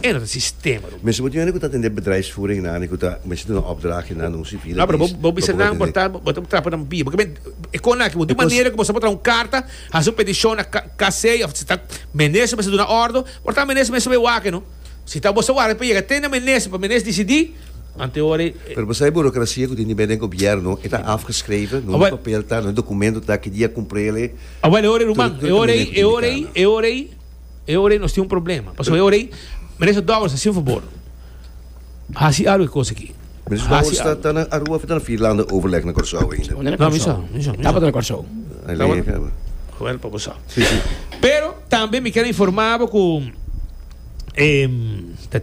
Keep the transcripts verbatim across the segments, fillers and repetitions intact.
E no ta sistema, ruman. Mensen moeten weten dat in de bedrijfsvoering na, ik dat mensen doen een opdrachtje na een civiele No, pero bo dienst. bo bisa Pa nan por por ta bo ta trapa nan bia. Porque e kon aki, di manera ku bo sa por traha un karta, hasi un petishon na K C of si ta minister mester duna ordo, por ta minister mester bai wak, no? Si ta bo sa warda pa yega te na minister, pa minister disidí, ante ora Pero bo sa burocracia ku tin den gobièrnu, ta afgeschreven, no Awel- papel ta, no documento ta, ki dia kumprele. Awel, e ora, ruman, Tur- tur e ora, maneho e ora, ku e ora, e ora nos tin un problema. Pasobra e ora, minister Dowers, hasi un fabor. Hasi algu kos aki. Minister Hasi Dowers ta algu. ta na Aruba of ta na Vierlanden overleg na Kòrsou ainda? No, No, mi sa, mi sa, mi sa. Tabata na Kòrsou. Alleen, Wel, pa bo sa. Si, si. Pero tambe mi ke informá ku eh,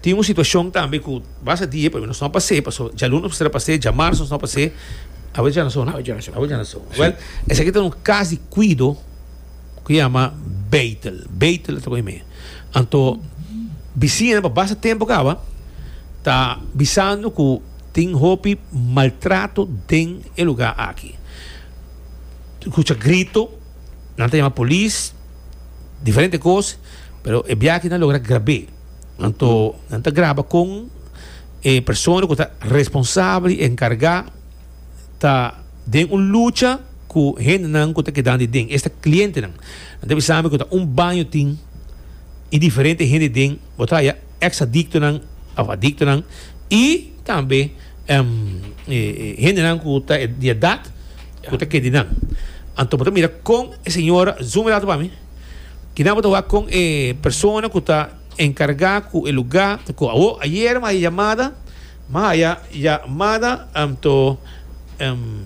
tin un situashon tambe ku basta dia, pero nos no pas'é, pasó djaluna nos pas'é, djamars nos no pas'é, awe djárason, no? Awe djárason. Awe djárason. Well, esaki ta un kaso di kuido ku yama Betel. Betel ta ku. Anto, bisiña pa basta tempu kaba ta bisando ku tin hopi maltrato den e lugá aki. Skucha grito, nan ta yama polis, diferente kos, pero e biaha nan a logra grab'é. Anto, nan ta graba ku e persona ku ta responsabel i enkargá ta den un lucha ku hendenan ku ta kedando den, esta klientenan. Nan ta bisando ku ta un baño tin i diferente hende den, bo ta haya ex-adiktonan, òf adiktonan i tambe um, eh, hendenan ku ta di edat ku ta keda nan. Anto bo ta mira kon e señora, zoom it out pa mi. Ku nan bo ta wak kon e persona ku ta enkargá ku e lugá, ku awo ayera m'a yamada, m'a haya yamada anto um,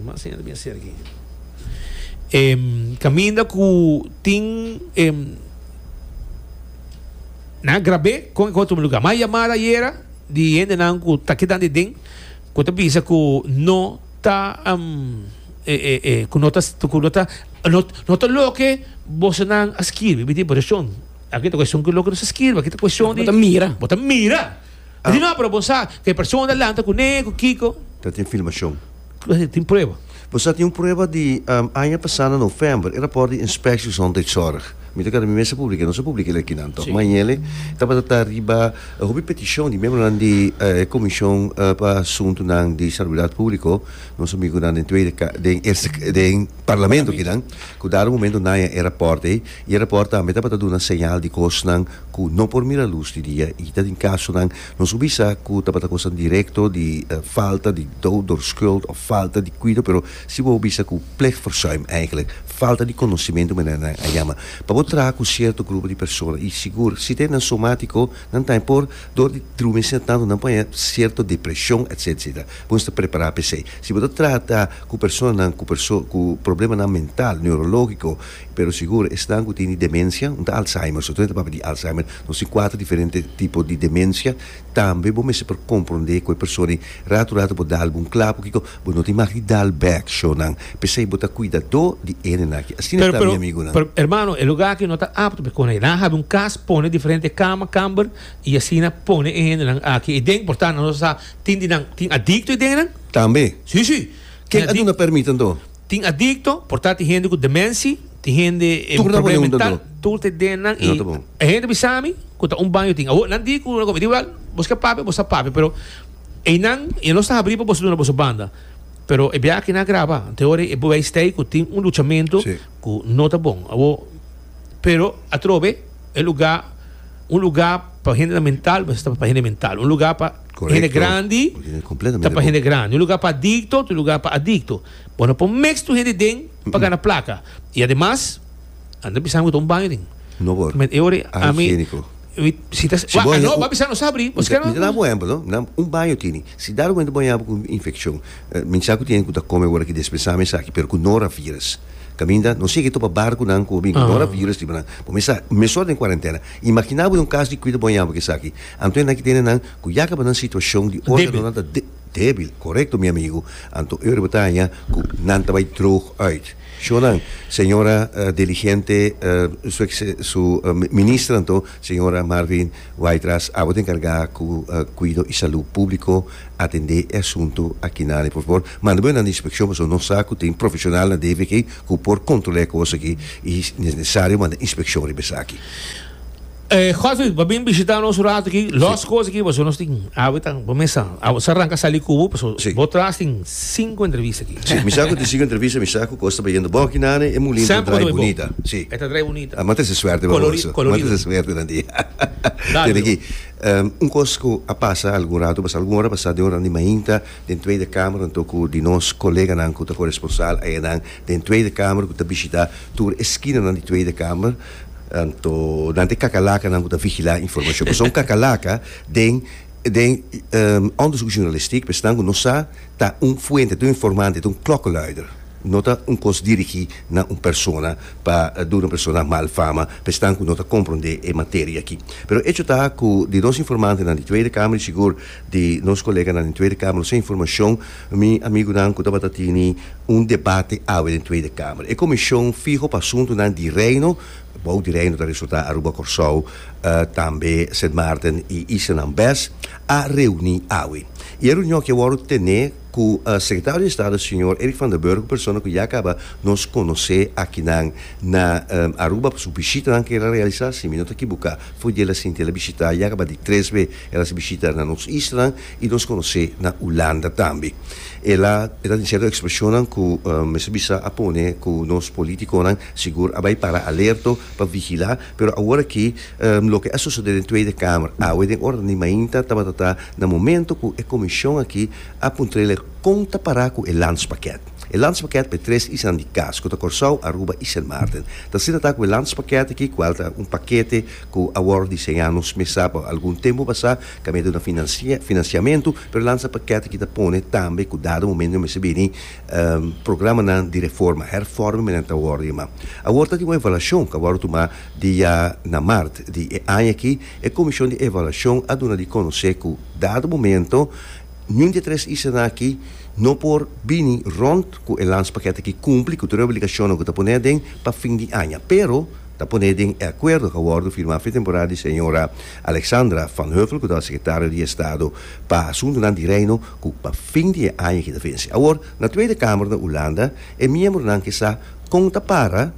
mas ainda bem ser aqui. Em, kaminda ku tin em, nan a grab'é kon e otro lugá. M'a yamada ayera di hendenan ku ta kedando den ku ta bisa ku no ta um, eh, eh, eh, ku no ta ku no ta no, no ta loke bosonan a skirbi, mi tin impreshon. Aki ta kuestion ku loke no ta skirbi, aki ta kuestion di Bo ta mira. Bo ta mira. Ah. No, pero bo sa ku e persona lanta kuné, ku kiko, Dat tin filmashon. Tin prueba. Bo tin un prueba di um, aña pasá na novèmber, e rapòrt di Inspectie Gezondheidszorg. Mi ta kere mi mes a publiká, no a publiká aki nan, toch? Si. Ma e tabata riba hopi petishon di miembronan di eh, komishon uh, pa asuntunan di salubridat públiko, nos amigunan den Tweede den eerste den parlamento akinan, ku dado momento nan a e rapòrt ei, i e rapòrt tambe tabata duna señal di kosnan ku no por mira lus di dia i ta den kasonan no sa bisa ku tabata kos direkto di uh, falta di dood door schuld of falta di kuido, pero si bo bisa ku plichtverzuim eigenlijk, falta di konosementu manera nan a yama. Pa bo traha ku sierto grupo di persona i sigur, si tin nan somátiko, nan ta por dor di drumi tantu nan por sierto depreshon, et cetera et cetera. Bo ta prepará pa esei. Si bo trata ku personanan ku perso ku problemanan mental, neurológiko, pero sigur esnan ku tin demensia, un Alzheimer, so ta papia di Alzheimer, nos tin kuater diferente tipo di demensia, tambe bo mester por komprondé ku e persona ratu ratu bo dal un klap, kiko, bo no tin mag di dal bèk, shownan. P'esei bo ta kuidadó di hendenan aki. Asina Pero, ta pero, mi amigunan. Pero, hermano, e lugá aki no ta apto pa kon nan hasi un kas, pone diferente kama, kamber i asina pone e hendenan aki. I den, por tantu, nos sa tin di nan, tin adikto i den nan? Tambe. Si, si. Ken Tin a duna pèrmit anto? Tin adikto, por tantu tin hende ku demensia, tin hende eh, Tur na problema pone un mental, dado. Tur te den nan No i ta bon. e hende bisa mi ku ta un baño tin. Awo, nan di ku no di wel, bo ke papia, bo sa papia, pero einan e no sta habrí pa boso duna boso banda. Pero e biaha nan a graba, te ora e bewijs tei ku tin un luchamentu Si. ku no ta bon. Awo, pero atrobe e lugá un lugá pa hende mental, ta pa hende mental. Un lugá pa Correcto. hende grandi, Completamente ta pa bon. hende grandi. Un lugá pa adikto, un lugá pa adikto. Bueno, por mix tur hende den pa gana plaka. I ademas, anda pensando ku un baño den. No por. Met e ora ami Higiéniko. mi- si ta Si bo ah, haña no, un- ba bisa no sabri. Você Mi ta da un ehèmpel, no? Na un baño tini. Si dado momento bo haña ku infekshon, eh, mi sa ku tin ku ta kome awor aki dispensá mi esaki, pero ku norovirus. Kaminda, no sé ku topa barkunan ku bin ku Ah. norovirus di nan. Bo mesa mesora den kuarentena. Imaginá bo un kaso di kuido bo haña ku esaki. Anto nan ki tene nan ku ya kaba nan situashon di Débil. órganonan ta de, Débil, korekto, mi amigu. Anto Eurobretaña ku nan ta bai droog uit. Shonan, señora uh, diligente, uh, su, su uh, minister anto, señora Marvin Wyatt-Ras, abo ta enkargá ku uh, kuido i salú públiko, atendé e asuntu aki na, por fabor. Manda bo na inspekshon, pasobra nos sa ku tin profeshonal na D V G ku por kontrolá e kos aki i nesesario manda inspekshon riba esaki. Eh, Godfrey, bo a bin bishitá nos un ratu aki. Los kos aki, bo nos tin, ah, ta, kuminsá. Ah, bo ranka sali ku bo, Si. bo tras tin sinku entrevista aki. Si, mi sa ku tin sinku entrevista, mi sa ku kos ta bayendo bon aki na e mulin Semper drai ta bon. bunita. Si. E ta drai bunita. Ah, ma tin suerte, Colori- vamos. Colorido. Ma tin suerte na dia. Dale. Tin aki. Um, un kos ku a pasa algun ratu, pasa algun ora pasa den ora di mainta den Tweede Kamer, anto ku di nos koleganan ku ta koresponsal einan den Tweede Kamer ku ta bishitá tur eskina nan di Tweede Kamer, anto nan ta kakalaka nan ku ta vigilá informashon. Pasobra un kakalaka den den um, onderzoeksjournalistiek bestaan ku nos sa ta un fuente, ta un informante, ta un klokkenluider. No ta un kos dirigí na un persona pa duna un persona mal fama, bestaan ku no ta komprondé e materia aki. Pero hecho ta ku di nos informantenan di Tweede Kamer, sigur di nos koleganan di Tweede Kamer, nos informashon, mi amigunan, ku tabata tini un debate awe den Tweede Kamer. E komishon fiho pa asuntunan di Reino, bou di Reino ta resultá Aruba, Kòrsou, uh, tambe Sint Maarten i islanan B E S, a reuní awe. I e reunion ku a wòrdu tene ku e sekretario di Estado, señor Eric van der Burg, persona ku ya kaba nos konosé aki na, na um, Aruba, su bishita ku el a realisá, si mi no ta ekivoká, foi el a sinti el a bishitá, ya kaba di tres be el a bishitá na nos isla i nos konosé na Hulanda tambe. El a, el a sierto ekspreshon ku um, bisa a pone ku nos polítikonan sigur a bai para alerto pa vigilá, pero awor aki um, loke a sosodé den Tweede Kamer, awe den ora di mainta tabata na momento ku e komishon aki a puntr'é kon ta para ku e landspakket. E landspakket pa tres islanan di kas, ku ta Kòrsou, Aruba i Sint Maarten. Ta asina ta ku e landspakket aki, kual ta un pakete ku a wòrdu diseñá nos mes sa pa algun tempu pasá, kaminda na finansia, finansiamentu, pero e landspakket aki ta pone tambe ku dado momento mester bini um, programanan di reforma, hervorming ta wòrdu yamá. Awor ta tin un evaluashon ku a wòrdu tumá dia na mart di e aña aki, e komishon di evaluashon a duna di konosé ku dado momento ningun di tres islanan aki no por bini rond ku e landspakket aki, kumpli ku tur obligashon ku ta pone den pa fin di aña. Pero ta pone den akuerdo ku a wòrdu firmá fin temporada di señora Alexandra van Heuvel, ku ta sekretario di Estado pa asuntunan di Reino, ku pa fin di aña aki ta vense. Awor, na Tweede Kamer na Hulanda, e miembronan ke sa kon ta para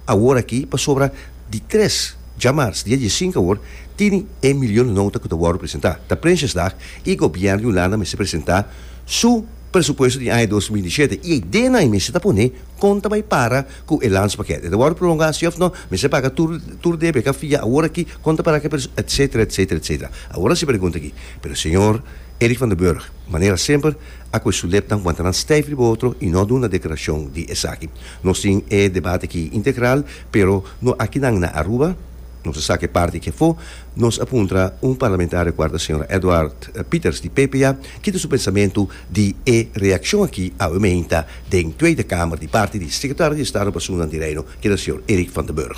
awor aki, pasobra di tres djamars, dia sinku awor, tin e miljoenennota ku ta wòrdu presentá. Ta Prinsjesdag i gobièrnu di Hulanda mester presentá su presupuesto di aña dos mil diesshete. I den ei mester ta pone kon ta bai para ku e landspakket. E wòrdu prolongá si òf no, mester paga tur tur debe ku fia awor aki kon ta para ku et cetera et cetera et cetera. Awor si pregunta aki. Pero señor Eric van der Burg, manera semper, a ku su lepnan wanta nan stijf riba otro i no duna deklarashon di esaki. Nos tin e debate aki integral, pero no aki nan na Aruba, nos sa ku parti ku foi, nos a puntra un parlamentario kual ta señor Edward eh, Pieters di P P A, ku su pensamentu di e reakshon aki awe mainta den Tweede Kamer di parti di sekretario di Estado pa Asuntu di Reino, ku ta señor Eric van der Burg.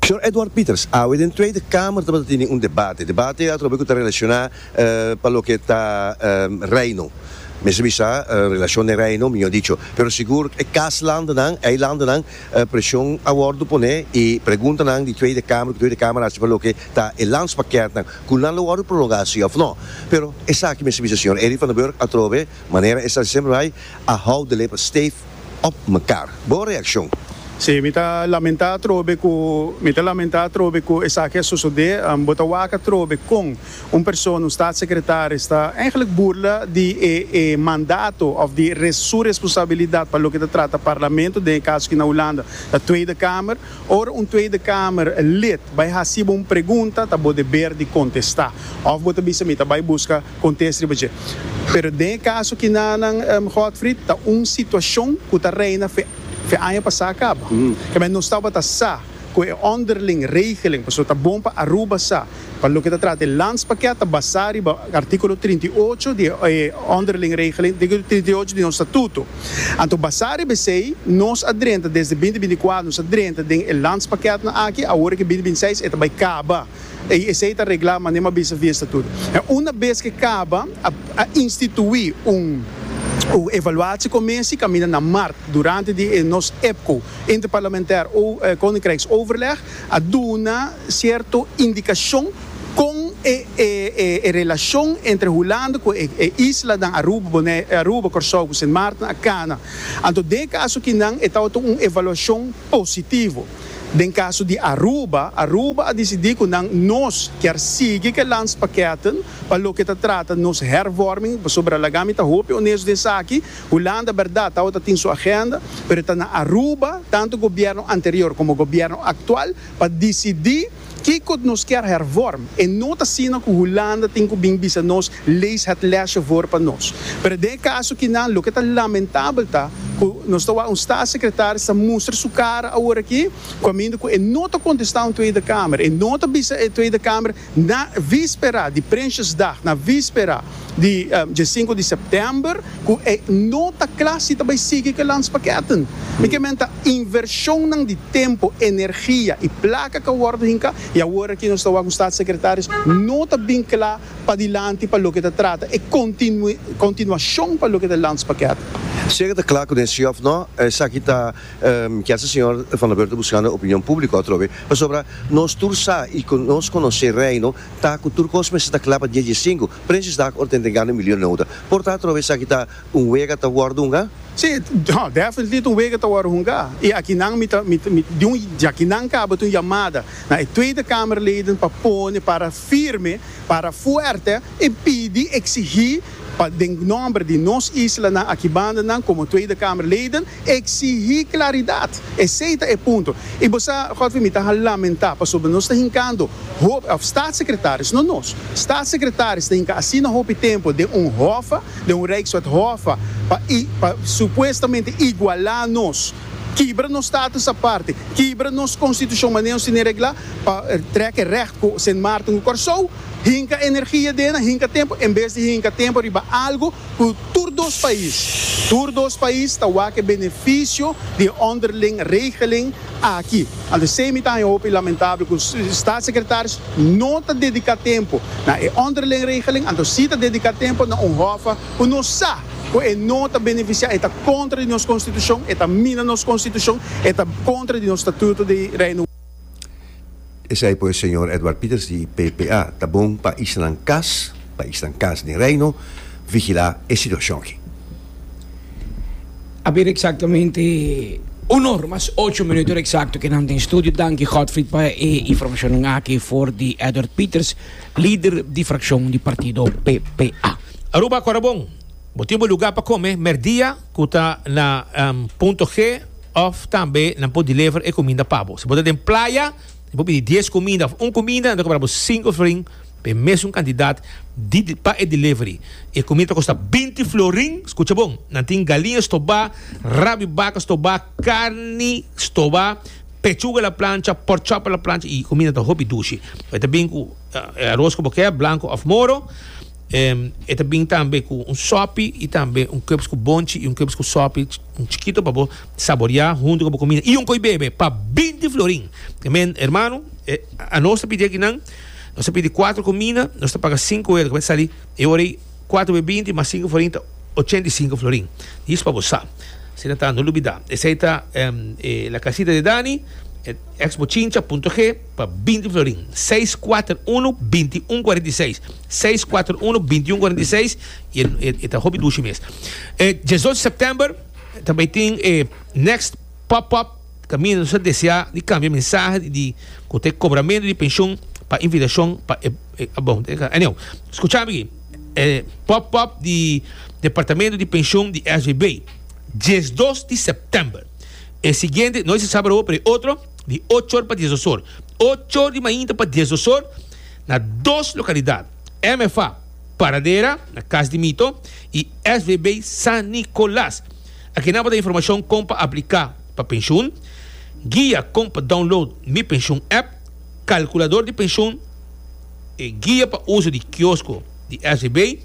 Señor Edward Pieters, awe den Tweede Kamer tabatin un debate, debate atrobe ku ta relashoná uh, pa loke ta um, Reino. Mester bisa uh, relashon di Reino, mihó dicho. Pero sigur e kaslandennan, eilandennan, uh, preshon a wòrdu pone i preguntanan di Tweede Kamer, Tweede Kamer hasi pa loke ta e landspakket nan, ku nan lo wòrdu prolongá si òf no. Pero esaki, mester bisa, señor Eric van der Burg atrobe, manera e sa semper bai, a hou de lippen stijf op mekaar. Bo reakshon? Si, mi ta lamentá trobe ku mi ta lamentá trobe ku esaki a sosodé, um, bo ta wak trobe kon un persona, un staatssecretaris, ta eigenlijk burla di e, e mandato òf di res, su responsabilidat pa loke ta trata parlamento, den kaso aki na Hulanda, e Tweede Kamer. Ora un Tweede Kamer lid bai hasi un pregunta, ta bo deber di kontestá. Òf bo ta bisa mi ta bai buska kontesta riba dje. Pero den kaso aki nan um, Godfried, ta un situashon ku ta reina fe fe aña pasá kaba. Mm. Ku men no tabata sa ku e onderling regeling, paso ta bon pa Aruba sa. Pa loke ta trata landspakket ta basá riba artíkulo trinta i ocho di eh, onderling regeling, artíkulo trinta i ocho di nos statuto. Anto basá riba esei, nos a drenta desde dos mil bintikuater, nos a drenta den e landspakket nan aki, awor ku dos mil bintiseis e ta bai kaba. I esei ta reglá manera m'a bisa via statuto. I una bes ku kaba, a, a instituí un un evaluatiecommissie kaminda na maart durante di eh, nos I P C O, interparlementair o, eh, Koninkrijksoverleg, a duna sierto indikashon ku e, e, e, e relashon entre Hulanda ku e, e islanan Aruba, Bonaire, Aruba, Kòrsou, Sint Maarten, a kana. Anto, den kaso akinan, e un evaluashon positivo. Den kaso di Aruba, Aruba a disidí ku nan nos ke sigui ku landspakketten pa loke ta trata nos hervorming sobre laga mi ta hopi honesto den esaki. Hulanda, berdat, ta tin su agenda, pero ta na Aruba, tantu gobièrnu anterior komo gobièrnu aktual, pa disidí kiko nos ke hervorm. E no ta asina ku Hulanda tin ku bin bisa nos: "Lees het lesje voor pa nos." Pero den kaso akinan, loke ta lamentabel ta ku nos ta un staatssecretaris ta mustra su kara awor aki, kaminda ku e no ta kontestá un Tweede Kamer, e no ta bisa e Tweede Kamer na víspera di Prinsjesdag, na víspera di um, dia sinku di sèptèmber, ku e no ta kla si ta bai sigui ku landspakketten. Mi ke men ta invershon di tempu, energia i plaka ku a wòrdu hinká, i awor aki nos ta ku staatssecretaris no ta bin kla pa dilanti pa loke ta trata e kontinu, kontinuashon pa loke ta landspakket. Zeker de klaar con of no, esaki ta um, ku señor Van der Burg buskando opinion públiko atrobe. Pasobra nos tur sa i nos konosé Reino, ta ku tur kos mester ta kla pa dia sinku. Prinsjesdag ora entregá milionenota. Por ta atrobe esaki ta un wega ta wòrdu hungá? Sí, no, definitief un wega ta wòrdu hungá. I akinan mi ta mi mi di un di akinan kaba un yamada na e Tweede Kamerleden pa pone para firme, para fuerte i pidi, eksigí pa den nòmber di nos islanan aki bandanan komo Tweede Kamerleden eksigí klaridat. Esei ta e punto. I bo, Godfrey, mi ta lamentá pasobra nos ta hinkando hopi, òf staatssecretaris, no nos. Staatssecretaris ta hinka asina hopi tempu den un hof, den un Rijkswet hof, pa, pa supuestamente igualá nos, kibra nos status aparte, kibra nos konstitushon manera nos tin reglá, pa trek recht ku Sint Maarten ku Kòrsou, hinka energia den, hinka tempu, en bes di hinka tempu riba algu ku tur dos pais. Tur dos pais ta wak benefisio di onderling regeling aki. Anto esei mi ta hopi lamentabel ku staatssecretaris no ta dediká tempu na e onderling regeling, anto si ta dediká tempu na un hof ku nos sa ku e no ta benefisiá, ta kontra di nos konstitushon, ta mina nos konstitushon, ta kontra di nos statuto di Reino. Esei pues señor Edward Pieters di P P A. Ta bon pa islanan kas, pa islanan kas di Reino, vigilá e situashon aki. A ber, eksaktamente un or mas ocho minüt eksakto ku nan den studio. Danki, Godfried, pa e informashon aki for di Edward Pieters, lider di frakshon di partido P P A. Aruba, kòrda bon. Bo tin lugá pa kome, merdia, ku ta na um, Punto G, òf tambe nan por deliver e kuminda pa bo. Si bo ta den Playa, bo pidi dies kuminda, òf un kuminda, nan ta kobra sinku florin, pa mesun kantidat di, pa e delivery. E kuminda ta kosta binti florin, skucha bon. Nan tin galiña stobá, rab'i baka stobá, karni stobá, pechuga a la plancha, pork chop a la plancha i kuminda ta hopi dushi. E ta bin ku uh, aros ku bo ke, blanku òf moro. Um, e ta bin tambe ku un sòpi i tambe un kùp ku bonchi i un kùp ku sòpi, un chikitu pa saboriá huntu ku kuminda i un ko'i bebe pa binti florin. Men, hermano, eh, nos a pidi akinan, nos a pidi kuater kuminda, nos a paga sinku euro, ku ta sali, e ora kuater binti mas sinku florin, ochenta i sinku florin. Esei pa bo. Asina ta, no lubidá. Esei ta um, eh, La Casita de Dani, ex Bochincha, Punto G, pa binti florin. seis kuater un, bintiun kuarenta i seis. seis kuater un, bintiun kuarenta i seis i e ta hopi dushi mes. Eh, diesdos di sèptèmber, tambe tin eh, next pop-up kaminda nos ta deseá di kambia mensahe di ku e kobramentu di penshun pa invitashon pa eh, eh, bon, anyway, skucha aki, eh, pop-up di departamento di penshun di S V B, diesdos di sèptèmber, e siguiente, no ta sabat, pero otro, di ocho or pa diesdos or, ocho or di mainta pa diesdos or, na dos lokalidat: M F A Paradera, na Cas di Mito, i S V B San Nicolas. Aki nan informashon kon pa apliká pa penshun, guia kon pa download Mi Penshun app, kalkulador di penshun. E guia pa uso di kiosko di S V B,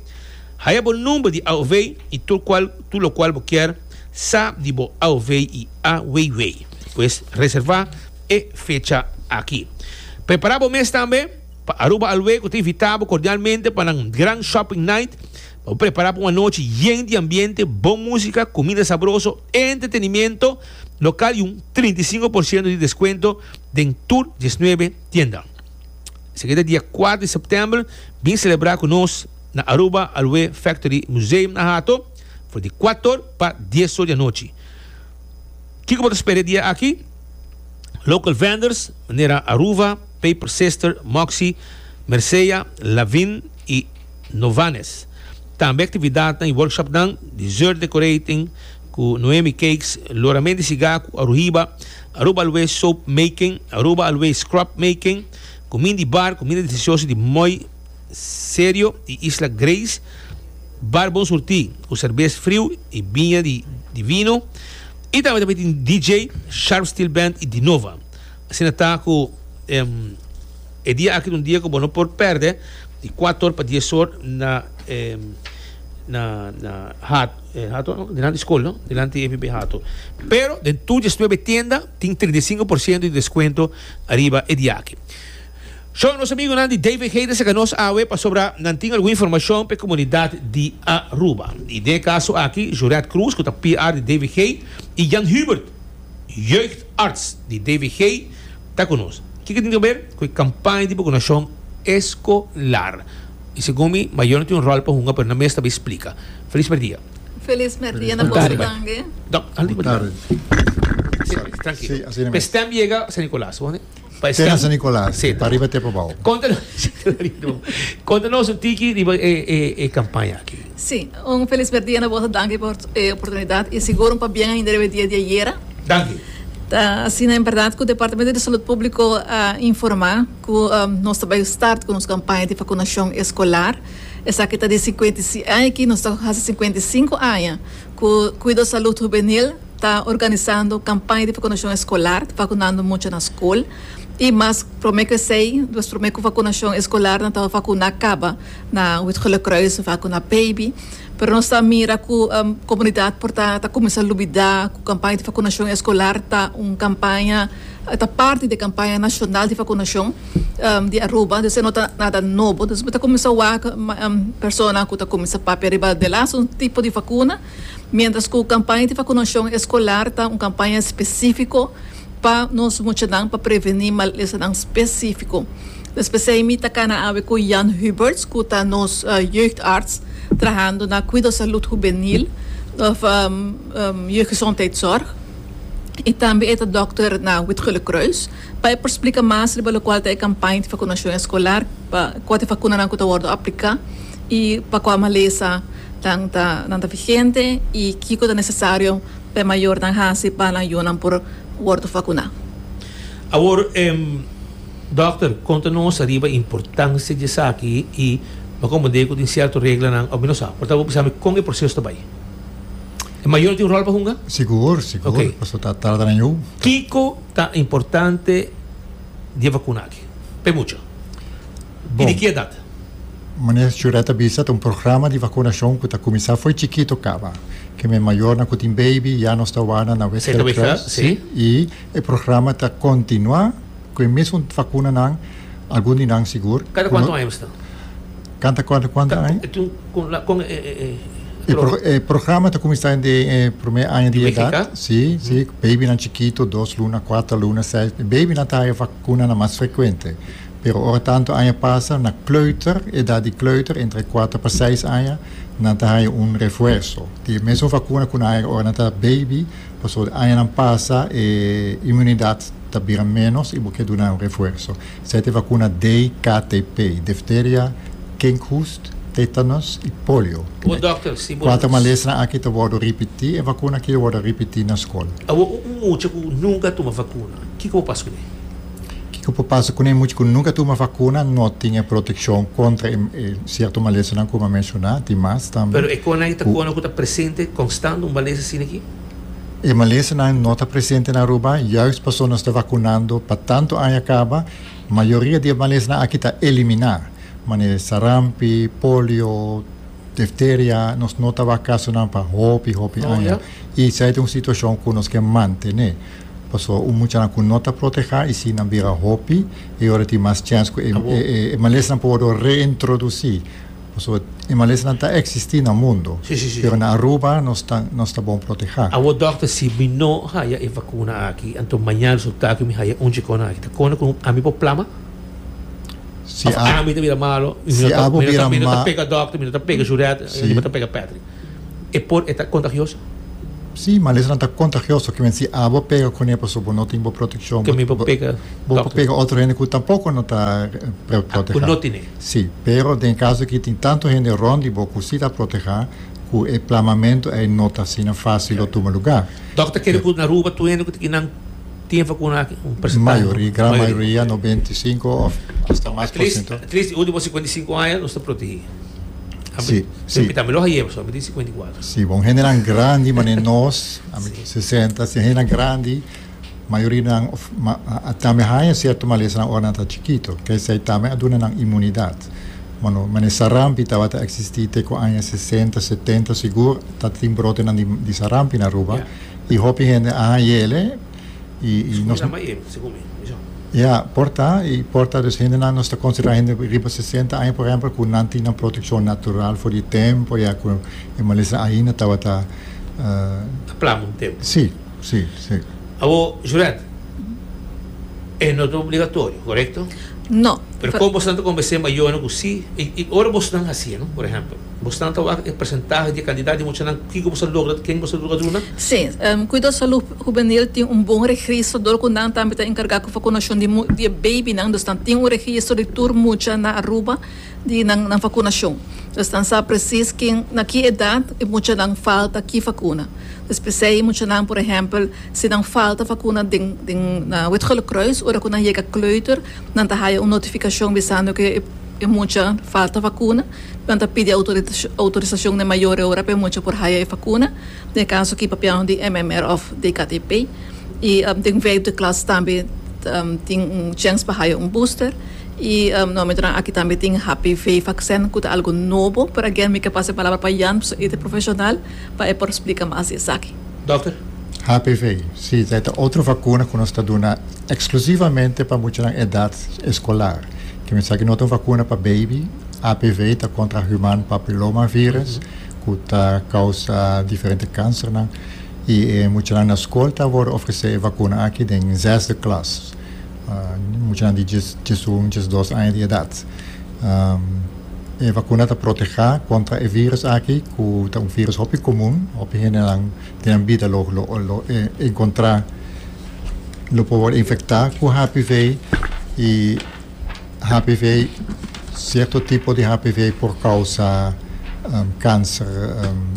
haya bo number di A O V y tur cual tur locual bo kier sa di bo A O V y A W W. Pues reserva e fecha aki. Prepara bo mes tambe pa Aruba Alwe, cu ta invita bo cordialmente pa un gran shopping night. Pa prepara pa un anochi yen di ambiente, bon musica, cuminda sabroso, entretenimento local y un trinta i sinku porciento di descuento den tur diesnuebe tienda. Esaki ta dia kuater di september, bin celebra cu nos na Aruba Aloe Factory Museum na Hato, for di kuater pa dies or di anochi. Kico bo ta spera e dia aki? Local vendors, manera Aruba, Paper Sister, Moxie, Mercea, Lavin y Novanes. Tambe actividad y workshop nan, dessert decorating, cu Noemi Cakes, loramento di siga cu Aruba, Aruba Aloe Soap Making, Aruba Aloe Scrub Making, cuminda bar, cuminda delicioso di Moi Serio y Isla Grace, Bar Bon Surti, cu cerbes friu y biña di, divino, y tambe tambe tin D J, Sharp Steel Band y Dinova. Asina ta cu um, e dia aki un dia cu no por perde, di kuater pa dies or na um, na na hat eh, Hato, no? Dilanti scol, no? Dilanti E P B Hato. Pero den tur diesnuebe tienda tin trinta i sinku porciento di descuento ariba e dia aki. So, nos amigonan di D V G ta saca nos awe pasobra nan tin algun informacion pa e comunidad di Aruba. Y den e caso aki, Juret Cruz, cu ta P R di D V G, y Jan Hubert, jeugdarts di D V G, ta cu nos. Kico tin di haber cu e campaña di vacunacion escolar? Y segun mi, mayor tin un rol pa hunga, pero nan mes ta splica. Feliz dia. Feliz dia na Boa tarde. Boa tarde. No, ali, Boa tarde. Si, trankil. Si, asina Pa mes. stem yega San Nicolas, no? Pa Te na San Nicolas, Si, pa ariba te pabou. Conta nos, conta nos un tiki di e, e, e campaña aki. Si, un feliz dia na boso, danki pa e oportunidad y sigur un pabien ainda e dia di ayera. Danki. Ta, asina, en berdad, cu e Departamento di Salud Publico a informa cu um, nos tambe a start cu nos campaña di vacunacion escolar. Esaki ta di sinkuenta i sinku aña, cu nos ta haci sinkuenta i sinku aña, cu Cuido Salud Juvenil ta organisando campaña di vacunacion escolar, vacunando mucha na scol. Y mas prome cu esey, dus prome cu vacunacion escolar, nan tabata vacuna caba na Wit Gele Kruis, vacuna baby. Pero nos ta mira cu um, comunidad por ta, ta cuminsa lubida cu campaña di vacunacion escolar ta un campaña, ta parti di e campaña nacional di vacunacion um, di Aruba, dus no ta nada nobo. Dus ta cuminsa wak um, persona cu ta cuminsa papia riba di un tipo di vacuna, mientras cu e campaña di vacunacion escolar ta un campaña specifico pa nos muchanan, pa preveni malesanan specifico. Dus p'esey mi ta cana awe cu Jan Huberts, cu ta nos uh, jeugdarts, trahando na Cuido Salud Juvenil, of um, um, jeugdgezondheidszorg. Y tambe e dokter na Wit Gele Kruis. Pa por splica mas riba locual ta e campaña di vacunacion escolar, pa cua vacunanan cu ta wordo aplica y pa cua malesa nan ta nan ta vigente y kico ta necesario pa mayornan hasi pa nan yiunan por wordo vacuna. Awor, um, dokter, conta nos ariba importancia di esaki y ma como digo, tin cierto reglanan, of no sa, por tanto, sabi con e proceso ta bay. E mayor tin un rol pa hunga? Sigur, sigur. Ok. Paso ta tarda na eu. Kico ta importante di vacuna aki? Pa mucha. Bon. Y di ki edad? Manera Jureta bisa, un programa di vacunacion cu ta cuminsa for di chikito caba. Kiermen mayornan cu tin baby, ya nos ta wana na Si, ta West si. Y e programa ta continua cu e mesun vacunanan, algun di nan sigur. Cada cuanto aña ta? Canta cuanto cuanto aña? Cu, cu, eh, eh, E, pro, e programa ta cuminsa den eh, prome aña di Di edad. W G K? Si, si, baby nan chikito, dos luna, kuater luna, seis. Baby nan ta vacuna nan mas frecuente. Pero ora tanto aña pasa, na kleuter, edad di kleuter, entre kuater pa seis aña, nan ta un refuerso. Di mesun vacuna cu nan ora nan ta baby, paso añanan pasa e inmunidad ta bira menos y bo kier duna un refuerso. Esey ta vacuna D K T P, difteria, kinkhoest, tetanus y polio. O dokter, si bo Cuater malesa aki ta wordo ripiti, e vacuna aki ta wordo ripiti na scol. Awor, un mucha cu nunca a tuma vacuna, kico por pasa cu ne? Kico por pasa cu mucha cu nunca a tuma vacuna, no tin proteccion contra eh, eh, cierto malesanan cu mi a menciona, tin mas tambe. Pero e con ta O- con ta presente constante un malesa asina aki? E malesanan no ta presente na Aruba, juist paso nos ta vacunando pa tanto aña caba, mayoria di malesanan aki ta elimina. Manera sarampi, polio, difteria, nos no tabatin kasonan pa hopi, hopi Oh, aña. ja. I esei ta un situashon ku nos ke mantené. Paso un mucha ku no ta protehá i si nan bira hopi e ora tin mas chèns ku e, Ah, bon. e, e, malesa por reintrodusí. Paso e malesa ta eksistí na mundu. Si, si, si. Pero na Aruba nos ta nos ta bon protehá. Awo dòkter, si mi no haya e vakuna aki, anto mañan resultá ku mi haya un chikona aki, ta kona ku ami por plama? Si Of a, ami ta bira malo, Si mi no ta- abo mi no ta- bira mi no ta ma- pega dòkter, mi no ta pega Juret, Si. mi no ta pega Patrick. E por e ta kontagioso? Si, malesa ta kontagioso, ke men si abo pega kuné, paso bo no tin bo protekshon. Ku mi por pega Bo dòkter. pega otro hende ku tampoko no ta eh, protehá. Ku no tin. Si, pero den kaso ku tin tantu hende rònt di bo ku si ta protehá, ku e plamamentu ei no ta asina fásil di tuma lugá. Dòkter, kere ku na Aruba tur hende ku tin tin vakuna aki, un porsentahe? Mayoria, gran mayoria, nobenta i sinku òf asta mas At least, por siento. at least último sinkuenta i sinku aña nos ta protehí. Si, si. Tambe lo haya, so, mi sinkuenta i kuater. Si, bon, hendenan grandi, ma nos, ami sesenta, si hendenan grandi, mayoria nan, of, ma, a, a, tambe haya sierto malesa nan ora nan ta chikitu, ku esei tambe a duna nan imunidat. Bueno, ma sarampi tabata eksistí te ku aña sesenta, setenta, sigur, tabatin brote nan di, di sarampi na Aruba. Ja. I hopi hende a hayele, i, i nos, Nos, segun mi. Ja, por ta, i por ta dus hende nan nos ta konsiderá hende riba sesenta aña, por ehèmpel, ku nan tin protekshon natural for di tempu, ja, ku e malesa ainda tabata uh, Plama un tempu. Si, si, si. Awo, Juret, e no ta obligatorio, korekto? No. Pero kon boso ta konvensé mayornan ku si, i, i ora boso ta hasi, no? Por ehèmpel, boso ta e porsentahe di kantidat di muchanan, kiko boso logra, ken boso logra duna? Si, um, Kuido Salú Hubenil tin un bon registro, dor ku nan tambe ta enkargá ku vakunashon di, mu- di baby nan, dus nan tin un registro di tur mucha na Aruba di nan, nan vakunashon. Dus nan sa precies ken, na ki edat e mucha nan falta ki vakuna. Dus p'esei mucha nan, por ehèmpel, si nan falta vakuna den, den na Wit Gele Kruis, ora ku nan yega kleuter, nan ta haya un notifikashon bisando ku e, e mucha falta vakuna, nan ta pidi outorisashon outorisashon di mayor ora pa mucha por haya e vakuna. Den kaso ku papiando di M M R òf D K T P. I um, den vijfde klas tambe um, tin un chèns pa haya un booster. I um, no, aki tambe tin H P V vaccin, ku ta algu nobo, pero again, mi ke pasa e palabra pa Jan, e ta profeshonal, pa e por splika mas esaki. Dòkter? H P V, si, ta otro vakuna ku nos ta duna eksklusivamente pa mucha na edat eskolar. Ke men sa ku no ta un vakuna pa baby, H P V ta kontra human papillomavirus, ku ta kousa diferente kanser. I eh, mucha na skol ta worden ofresé vakuna aki den zesde klas. Uh, mucha di diesun, diesdos aña di edat. Um, e vakuna ta protehá kontra e virus aki, ku ta un virus hopi komun, hopi hende den bida lo, lo, lo eh, enkontrá, lo por infektá ku H P V i H P V, sierto tipo di H P V por kousa um, kanser, um,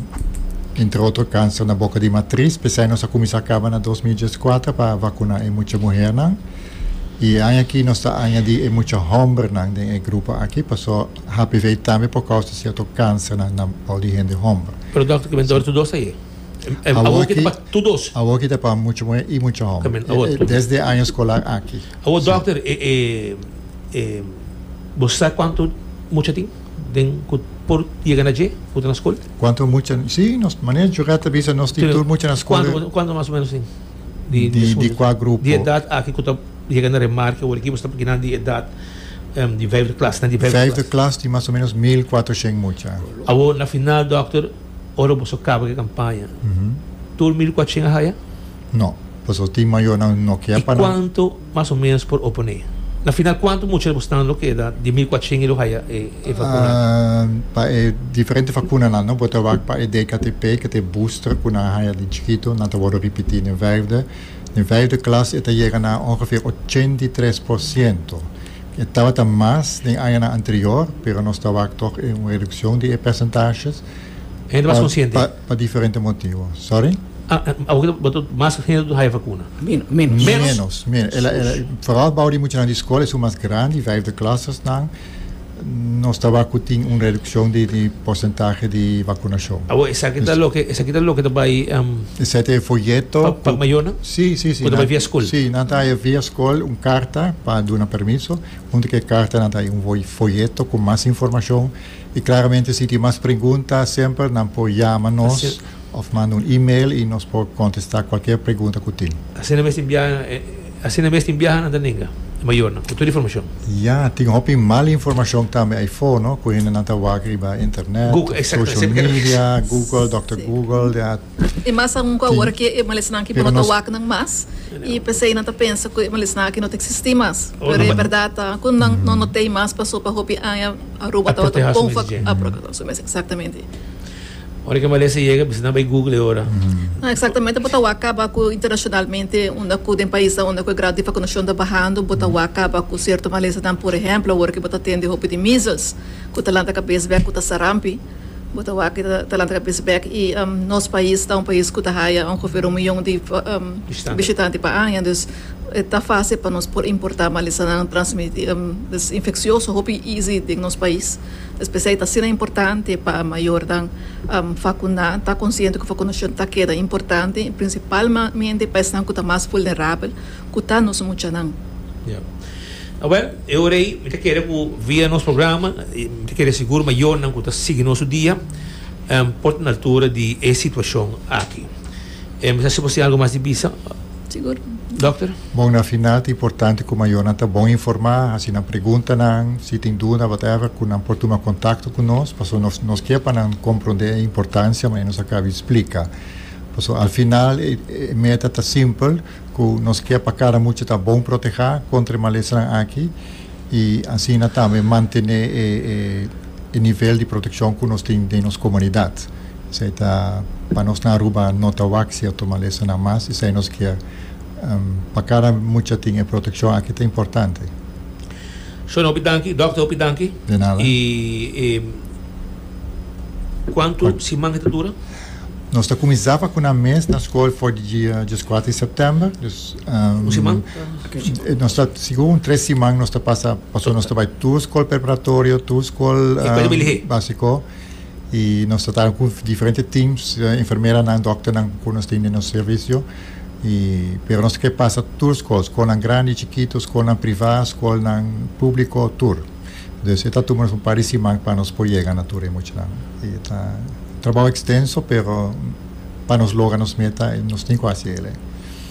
entre otro kanser na boka di matris. P'esei nos a kuminsá kaba na dos mil dieskuater pa vakuná e mucha muhénan. I aki nos ta añadí e mucha hòmbernan den e grupo aki, paso H P V tambe por kousa sierto kanser na na di hende hòmber. Pero dòkter, ku men tur dos ei. Awor ku pa tur dos. Awor ku ta pa mucha muhé i mucha hòmber. Desde aña eskolar aki. Awor dòkter, eh, eh, eh, bo sa kuantu mucha tin? Den por yega na dje, na skol? Kuantu mucha? Si, nos manera Jureta bisa nos tin tur mucha na skol. Kuantu, kuantu mas o ménos tin? Di, di, di kua grupo? Di edat aki ku ta yega na remarke, o ekipo ta di edat um, di vijfde klas, di vijfde, vijfde klas, di mas o ménos mil kuatershen mucha. Awor, na final, dòkter, ora boso kaba e kampaña. Uhum. Tur mil kuatershen haya? No, pues tin mayornan no ke pa kuantu mas o ménos por oponé? Na final, kuantu mucha bo ta keda di mil kuatershen lo haya e, e vakuna? Uh, pa e diferente vakuna no, bo ta pa e D K T P, ku ta booster, ku nan haya di chikitu, nan ta worden repetí den vijfde. Den vijfde klas e ta yega na ongeveer ochenta i tres por siento. Tabata mas den aña anterior, pero nos tabata toch un redukshon di porcentages. Hende mas konsiente? Pa, pa diferente motibu. Sorry? Ah, ah, mas hende haya vakuna? Menos. Menos. Menos. Menos. Ela, ela, vooral bou di mucha na skol, ta mas grandi, vijfde klasses nan. Nos tabata tin un reduccion di, di porcentahe di vacunacion. Ah, esaki ta loke, esaki ta loke tambe um, Esaki ta foyeto. Pa, pa mayornan? Si, si, si. Cu bay via scol? Si, nan ta via scol un carta pa duna permiso. Hunto cu e carta nan ta un foyeto cu mas informacion. Y claramente si tin mas pregunta, semper nan por yama nos of manda un e-mail y nos por contesta cualkier pregunta cu tin. Asina mes biaha, asina mes biaha nan ta nenga mayornan, cu tur informacion. Ja, tin hopi mal informacion tambe ey no? Cu nan ta wak riba internet, Google, social media, Google, Doctor Google, ja. Y mas un awor cu e malesanan aki no ta wak nan mas. Y p'esey nan ta pensa cu e malesanan aki no ta existi mas. Pero e berdad cu nan no no tin mas, paso pa hopi aña Aruba ta bon a proteha exactamente. Ora cu malesa yega, bo no bay Google ora. No, exactamente, bo ta wak caba cu internacionalmente, unda cu den pais unda cu grado di vacunacion ta bahando, bo ta wak caba cu cierto malesa dan, por ehempel, ora cu bo ta tende hopi di measles, cu ta lanta cabes bek, cu ta sarampi, bo ta wak ta lanta cabes bek y um, nos pais ta un pais cu ta haya ongeveer un miyon di um, bishitante pa aña, dus ta facil pa nos por importa malesa nan transmiti, um, dus infeccioso hopi easy den nos pais. Especial ta asina importante pa mayornan um, vacuna, ta consciente cu vacunacion ta keda importante, principalmente pa esnan cu ta mas vulnerabel, cu ta nos muchanan. Yeah. Ah, well, eu rei, mi kier cu via nos programa, mi kier sigur mayornan cu ta sigui nos dia, um, por na altura di e situacion aki. Eh, mas si bo tin algo mas di bisa? Sigur. Doctor? Bon, na final ta importante cu mayornan ta bon informa, asina nan pregunta nan, si tin duda, whatever, cu nan por tuma contacto cu nos, paso nos nos kier pa nan comprende e importancia, mas nos a caba di splica. Paso al final e, e meta ta simpel, cu nos kier pa cada mucha ta bon proteha contra malesa aki y asina tambe mantene e, e, e nivel di proteccion cu nos tin den nos comunidad. Esey ta pa nos na Aruba no ta wak cierto malesa nan mas, esey nos kier um, pa cada mucha tin e proteccion aki ta importante. Señor, hopi danki, doctor, hopi danki. De nada. Y eh, cuanto siman ta dura? Nos ta cuminsa vacuna mes na scol for di dia diescuater di september. Dus, um, Un siman? Nos ta, segun tres siman nos ta pasa, paso nos ta bay tur scol preparatorio, tur scol um, basico. Y nos ta cu diferente teams, uh, enfermeranan, dokternan cu nos tin den servicio. Y, pero nos kier pasa tur scol, scol grandi, chikito, scol priva, scol publico, tur. Dus ta tuma un par di siman pa nos por yega na tur mucho. Y ta trabou extenso, pero pa nos logra nos meta, nos tin cu haci.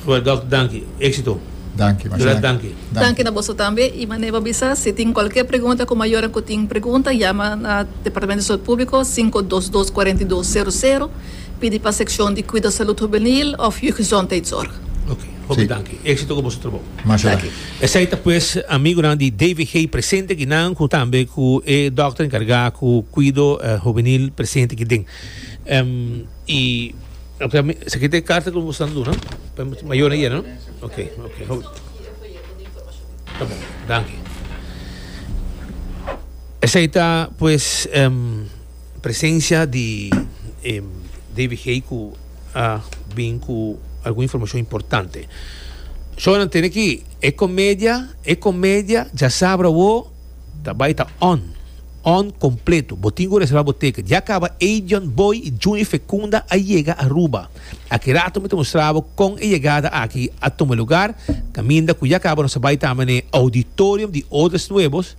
Well, Doctor, danki. Exito. Danki, Marcelo. Danki. Danki na boso tambe. Y manera bisa, si tin cualkier pregunta, cu mayor cu tin pregunta, yama na Departamento di Salud Publico cinco dos dos, cuatro dos cero cero, pidi pa seccion di Cuido Salud Juvenil of Jeugdgezondheidszorg. Ok, hopi danki. Exito cu boso trabou. Masha. Esey ta pues amigonan di D V G presente aki nan cu tambe cu e doctor encarga cu cuido uh, juvenil presente aki den. Um, y okay, esaki ta carta cu bo ta duna? Mayor ey, no? Ok, ok. Ta bon, danki. Esey ta pues um, presencia di um, D V G cu a bin cu algun informacion importante. So tin aki e comedia, e comedia diasabra wo tambe ta on. On completo. Bo tin cu reserva bo ticket. Ya caba Adrian Boy y Juni Fecunda a yega Aruba. Aki rato mi ta mustra con e yegada aki a tuma lugar. Caminda cu ya caba nos bay tambe na auditorium di Odres Nuevos.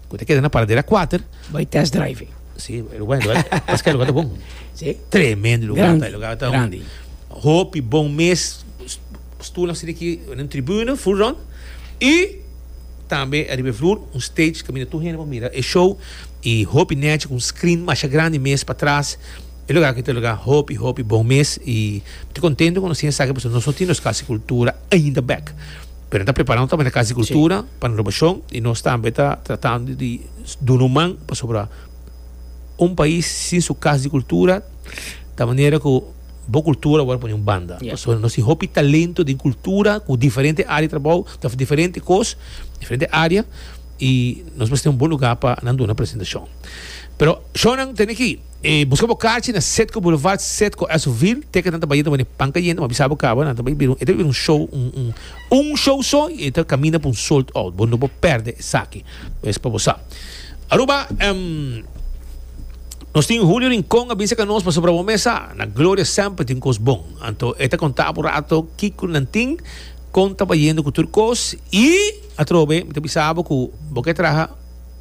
Cu ta keda na Paradera cuater. Bay test driving. Si, lugar, lugar, mas cu lugar ta bon. Si. Tremendo lugar, Grandi, ta, lugar ta grandi. Hopi bon mes, stoel asina aki na tribune, full rond. Y tambe ariba vloer, un stage caminda tur hende por mira e show y hopi net cu un screen mas grandi mes patras. E lugar aki ta lugar hopi hopi bon mes y mi ta contento cu nos sabi cu nos no tin Cas di Cultura ainda back. Pero ta preparando tambe na Cas di Cultura pa renovacion y nos tambe ta tratando di duna man pasobra un pais sin su Cas di Cultura, di manera cu bo cultura awor pone un banda. Yeah. So, nos tin hopi talento di cultura cu diferente area di trabou, diferente cos, diferente area y nos mester tin un bon lugar pa nan duna presentacion. Pero shonan tin aki, eh, busca bo kaartje na Citgo Boulevard, Citgo Essoville, ticket nan ta bayendo mane pan cayente, ma bisa bo caba, nan ta bay bira, e ta un show, un, un, un show so, y ta camina pa un sold out. Bo no por perde esaki. Es pa bo. Aruba, um, nos tin Julio Rincón a bisa cu nos pasobra bo mesa na Gloria semper tin cos bon. Anto e ta conta un rato kico nan tin con ta bayendo cu tur cos y atrobe mi ta bisa bo cu bo ke traha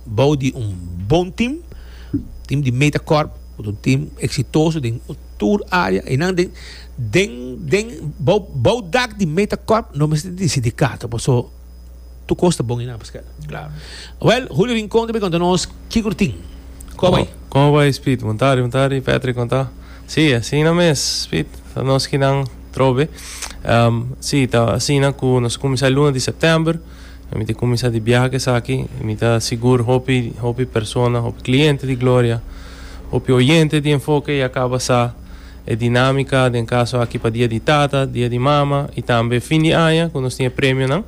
bou di un bon team, team di Metacorp, un team exitoso den tur area y nan den den den bou bou dak di Metacorp no mester di sindicato, paso tur cos ta bon y na Pascal. Claro. Well, Julio Rincón tambe conta nos kico tin. Con ta bay? Con ta bay, Speed? Bon tardi, bon tardi, Patrick, con ta? Si, asina mes, Speed, nos aki nan trobe. Um, si, ta asina cu nos a cuminsa luna di september, mi ta cuminsa di biaha aki, mi ta sigur hopi, hopi persona, hopi cliente di Gloria, hopi oyente di Enfoke y a caba sa e dinamica, den caso aki pa dia di tata, dia di mama y tambe fin di aña, cu nos tin premio, no?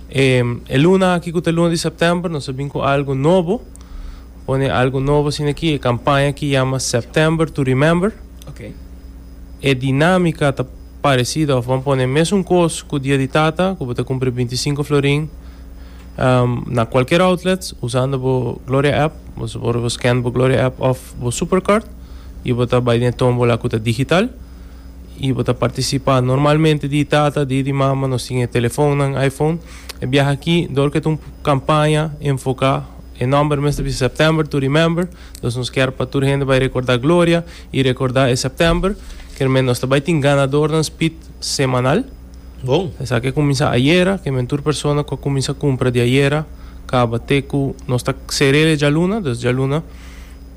E, e luna aki, cu ta luna di september, nos a bin cu algo nobo, pone algo nobo asina aki, e campaña cu yama September to Remember. Ok. E dinamica ta parecido, ban pone mesun cos cu dia di tata, cu bo ta cumpra binticinco florin um, na cualkier outlet, usando e Gloria app, bo por scan e Gloria app of e Supercard, y bo ta bay den tombola cu ta digital, y bo ta participa normalmente di tata, di, di mama, nos tin telefon, iPhone, e biaha aki, door cu un campaña enfoca e nomber mes di September to Remember, anto nos kier pa tur hende bay recorda Gloria y recorda e september, kiermen nos tambe tin ganador na Speed semanal. Bon. Esaki a cuminsa ayera, kiermen tur persona cu cuminsa cumpra di ayera, caba te cu nos ta sera dialuna, dus dialuna.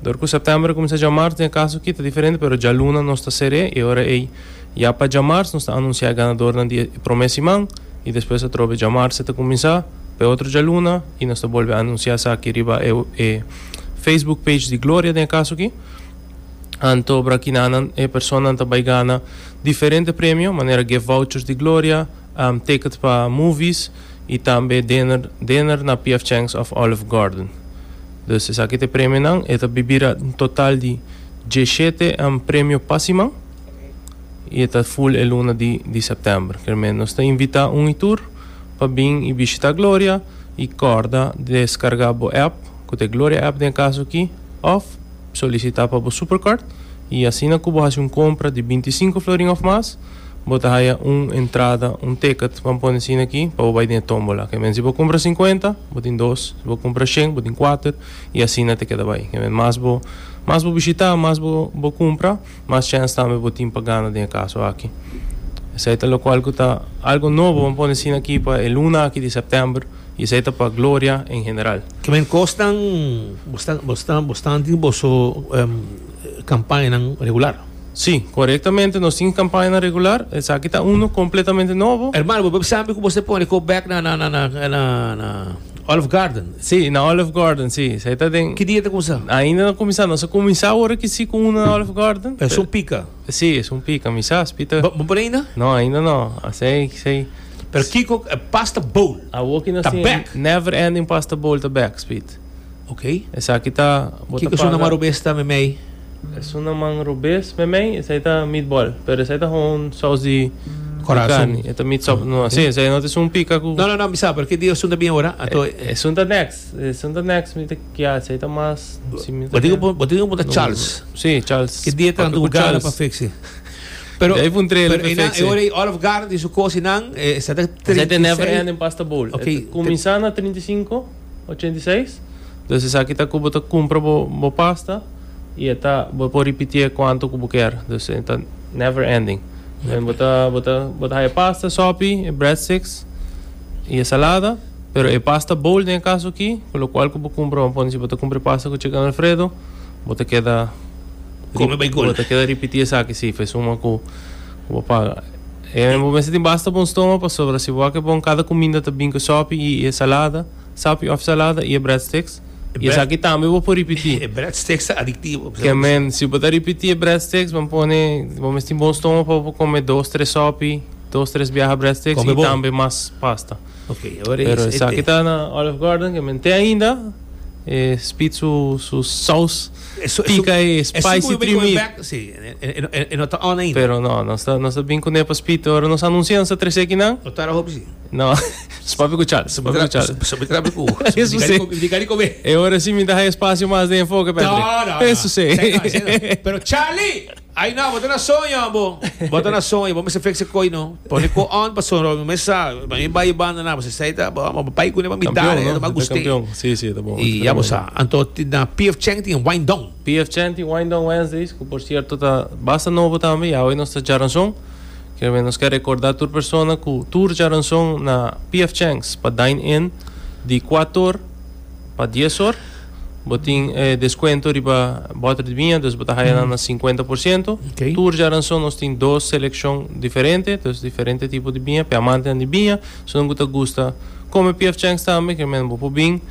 Door cu september cuminsa diamars, den caso aki ta diferente, pero dialuna nos ta sera y ora ey ya pa diamars nos ta anuncia ganador na di prome siman y despues atrobe diamars ta cuminsa pa otro dialuna y nos ta bolbe anuncia aki riba e, e Facebook page di Gloria den caso aki. Anto brakinana e persona ta bay gana diferente premio, manera gift vouchers di Gloria, um, ticket pa movies y tambe dinner, dinner na P F. Chang's of Olive Garden. Dus esaki ta premio nan, e ta bira un total di diesshete um, premio pa siman y ta full e luna di, di september. Kiermen nos ta invita un y tur pa bin y bishita Gloria y corda descarga e app, cu ta Gloria app den caso aki, of solicita pa e Supercard y asina cu bo haci un compra di binticinco florin of mas, bo ta haya un entrada, un ticket, ban pone asina aki, pa bay den tombola. Kiermen si bo cumpra cincuenta, bo tin dos, si bo cumpra cien, bo tin cuater y asina ta keda bay. Kiermen mas bo mas bo bishita, mas bo bo cumpra, mas chance tambe bo tin pa gana den caso aki. Esey ta loke algo ta algo nobo, ban pone asina aki pa e luna aki di september y esey ta pa Gloria en general. Kiermen cosnan bastante bastante bastante boso um, campaña regular. Si, corectamente, nos tin campaña regular, esaki ta uno completamente nobo. Hermano, bo sabi cu bo a pone go back na na na na na, na Olive Garden. Si, na Olive Garden, si. Esey ta den. Ki dia ta cuminsa? Ainda no a cuminsa, nos a cuminsa awor cu si cu un na Olive Garden. E un pica. Si, e un pica, mi sa, Peter. Bo por ainda? No, ainda no. Si, si. Pero kico, eh, pasta bowl. Awor nos Ta tin back. Never Ending Pasta Bowl ta back, Speed. Ok. Esaki ta. Kico ta un robes ta mey? E un man robes, mey, esey ta meatball. Pero esey ta un saus di Corazon. carne. E ta meat sop, no, si, esey no ta un pica cu No, no, no, mi sabi, porque dia ta bin ora. Anto, E un ta next, e un ta next, mi ta kia, esey ta mas, si mi ta Bo tin bo tin un Charles. Si, Charles. Ki dia tanto Papia cu gana Charles. pa fix. Pero Daí un trailer pero pa ina fix. ora Olive Garden di su cosinan, eh, sa Esey ta Never Ending Pasta Bowl. Ok. Cuminsa na trinta y cinco, ochenta y seis. Anto, esaki ta cu bo ta cumpra bo, bo pasta y ta bo por ripiti cuanto cu bo kier. Anto, ta never ending. En bo ta bo ta bo ta pasta, sopi, breadsticks y salada, pero e pasta bowl den caso aki, cu lo cual cu bo cumpra, ban pone si bo ta cumpra pasta cu chicken alfredo, bo ta keda Come bay gol. Bo ta keda ripiti esaki, si, fes uma cu bo paga. E bo mester tin basta bon stoma pasobra si bo ke bon cada cuminda ta bin cu sopi y, y salada, sopi of salada y breadsticks. E Y bread- esaki tambe bo por ripiti. E breadsticks ta adictivo. Kiermen, si bo ta ripiti breadsticks, ban pone, bo mester tin bon stoma pa come dos, tres sopi, dos, tres biaha breadsticks Come y bon. tambe mas pasta. Ok, awor Pero e esaki ta na Olive Garden, kiermen te ainda, Eh, Speed su, su sauce pica e spicy three meat. Si, e, e no ta on ainda. Pero no, nos ta, nos ta bin cu ne pa Speed, ora nos anuncia nos ta trece aki nan. No ta hopi si. No, papi cu Charles, papi cu Charles. Sobre trabe cu. Eso si. Di E ora si mi ta espacio mas di enfoke, Patrick. No, no, no. Eso si. Pero Charlie, ay no, bo ta na soño, bo. Bo ta na soño, bo mester fix e coi no. Pone ko on pa soño, mesa, mi bay banda na, você sai ta, bo pai ku ne pa mitad, no? Pa guste. Campeon. Si, si, ta bon. Y ya bo sa, anto na P F Chang tin Wine Down. P F Chang tin Wine Down Wednesdays, cu por cierto ta basta nobo tambe, y awe nos ta djaranson. Kier nos kier recorda tur persona cu tur djaranson na P F Chang's pa dine in di cuater or pa dies or. Bo tin eh, descuento riba boter di biña, dus bo ta haya na cincuenta por ciento. Ok. Tur djaranson nos tin dos seleccion diferente, dus diferente tipo di biña, pa amante di biña, si no gusta gusta come P F Chang's tambe, kiermen bo por bin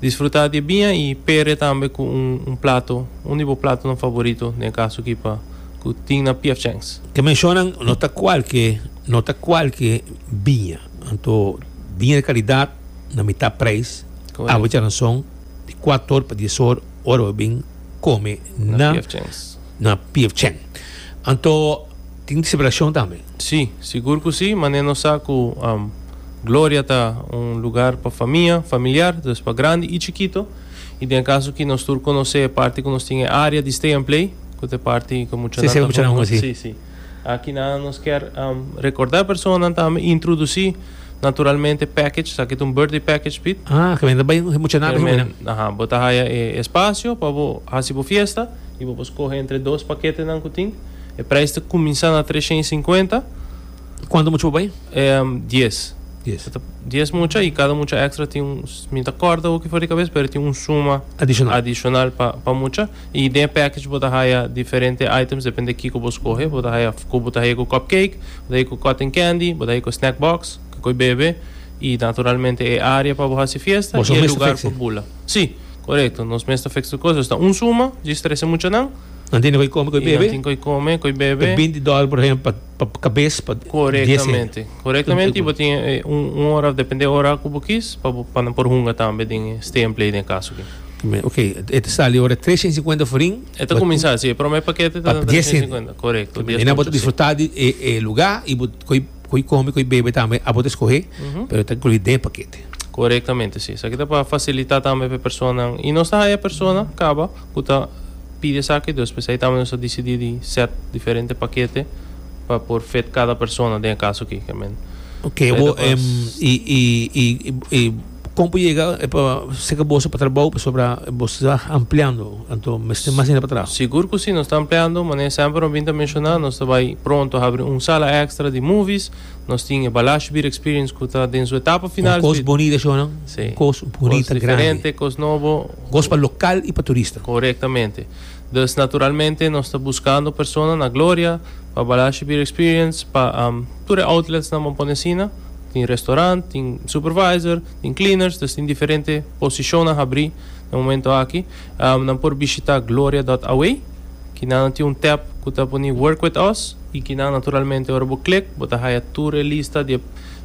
disfruta di biña y pair tambe cu un, un plato, un di bo platonan favorito, den caso aki pa cu tin na P F Chang's. Cu mencionan, no ta cualke, no ta cualke biña. Anto, biña di calidad na mitar prijs. Correcto. Awe djaranson di cuater or pa dies or, ora bin come na na P F Chang's. Na P F Chang. Anto, tin celebracion tambe. Si, sigur cu si, mas nos sa cu um, Gloria ta un lugar pa famia, familiar, dus pa grandi y chikito. Y den caso cu nos tur conoce e parti cu nos tin area di stay and play, cu ta parti cu mucha Si, si, mucha nan, si. Si, si. Aki na nos kier um, recorda persona tambe introduci naturalmente package, aki un birthday package pit. Ah, cu bin mucha nada. Men, aha, bo ta haya e espacio pa bo haci bo fiesta y bo scoge entre dos paketenan cu tin. E prijs ta cuminsa na trescientos cincuenta. Cuanto mucha bay? Um, dies. dies. dies mucha y cada mucha extra tin un, mi ta corda loke for di cabes, pero tin un suma adicional. Adicional pa pa mucha. Y den package bo ta haya diferente items, depende di kico bo scoge. Bo ta haya cu bo ta haya cu cupcake, bo ta haya cu cotton candy, bo ta haya cu snack box, cu coi bebe y naturalmente e area pa bo haci fiesta Bo y e mes ta lugar fix. Pa bula. Si, corecto. Nos mes ta fix cos. Ta un suma, di trece muchanan. Nan tin cu come, cu Y bebe. tin cu come, cu bebe. binti dollar, por ehempel, pa pa cabes, pa Corectamente. Corectamente, y bo tin eh, un, un ora, depende ora cu bo kies, pa pa nan por hunga tambe den stay and play den caso aki. Ok, e ta sali ora trescientos cincuenta florin. E ta cuminsa, si, prome pakete ta Pa dies trescientos cincuenta, corecto. Y nan por disfruta di eh, eh, lugar y bo coi coi come, coi bebe tambe, a por scoge, Uhum. pero ta inclui den pakete. Corectamente, si. Esaki ta pa facilita tambe pa persona. Y nos ta e persona, caba, cu ta pidi esaki, despues ey tambe nos a dicidi di set diferente pakete pa por fit cada persona den caso aki, kiermen. Ok, Ey bo, ta pas- um, y y y y con por yega eh, pa serca bo pa trabou sobre bo ta ampliando, anto mas mas ainda pa tras. Sigur cu si, nos ta ampliando, mas semper un ta menciona, nos ta bay pronto habri un sala extra di movies, nos tin Balash Beer Experience cu ta den su etapa final. Un cos bunita, no? Si. Cos bunita, Cos grandi. Diferente, cos nobo. Cos pa local y pa turista. Corectamente. Dus naturalmente nos ta buscando persona na Gloria, pa Balashi Beer Experience, pa um, tur outlets na Momponesina, tin restaurant, tin supervisor, tin cleaners, dus tin diferente posicion a habri na momento aki. Um, nan por bishita gloria punto a w, cu nan tin un tab cu ta poni "Work with us" y cu nan naturalmente ora bo click, bo ta haya tur lista di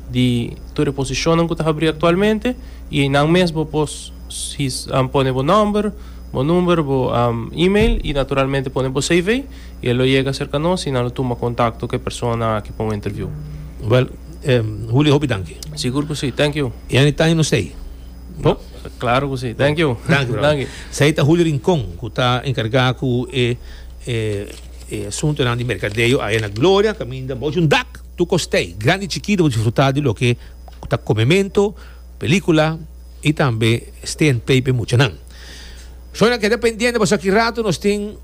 di tur posicion cu ta habri actualmente y nan mes bo por um, pone bo nomber, bo number, bo um, email y naturalmente pone bo C V y e lo yega cerca nos y nan lo tuma contacto cu e persona aki pa un interview. Well, um, Julio, hopi danki. Sigur cu si, thank you. Y anytime no sei. Bo? Claro cu si, thank you. Thank you. Thank you. Esey ta Julio Rincón, cu ta encarga cu e, e, e asunto di mercadeo ey na Gloria, caminda bou un dak, tur cos t'ey, grandi y chikito, disfruta di loke ta comemento, pelicula y tambe stay and play pa muchanan. So, keda pendiente, pasobra aki rato nos tin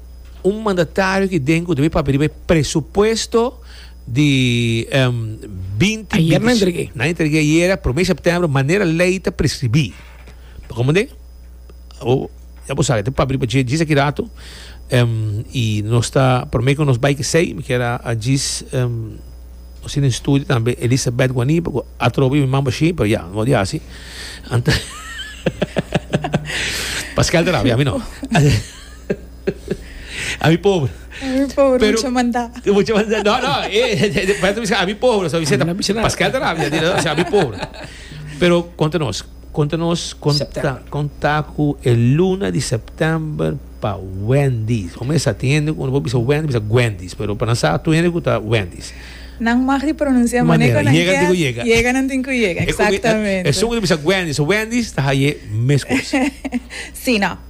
un mandatario cu tin cu debe pidi presupuesto di um, binti. Ayera nan a entrega. Nan a entrega ayera, prome september, manera ley ta prescribi. Con ta? O, ya bo sabi, pa habri pa djis aki rato. Um, y nos ta, prome cu nos bay cu esey, cu era a djis um, asina den studio tambe Elizabeth Guanipa, atrobe mi mama shi, pero ya, no di asina. Anto, Pascal de rabia, ami no. Ami pober. Ami pober, Pero- mucho manda. Mucho manda. No, no, eh, eh, ami pober, o sea, No, no, no. Pascal de rabia, o sea, ami pober. Pero conta nos, Konta nos, konta, Sèptèmber. Konta ku e luna di sèptèmber pa Wendy's. Komo sa tin ku no bisa Wendy's, bisa Wendy's, pero pa nan sa tur hende ku ta Wendy's. Nan mag di pronunsiá Manera, manera yega, digo, yega. Yega nan tin ku yega, eksaktamente. E un bisa Wendy's, Wendy's ta haye meskos. Si, no.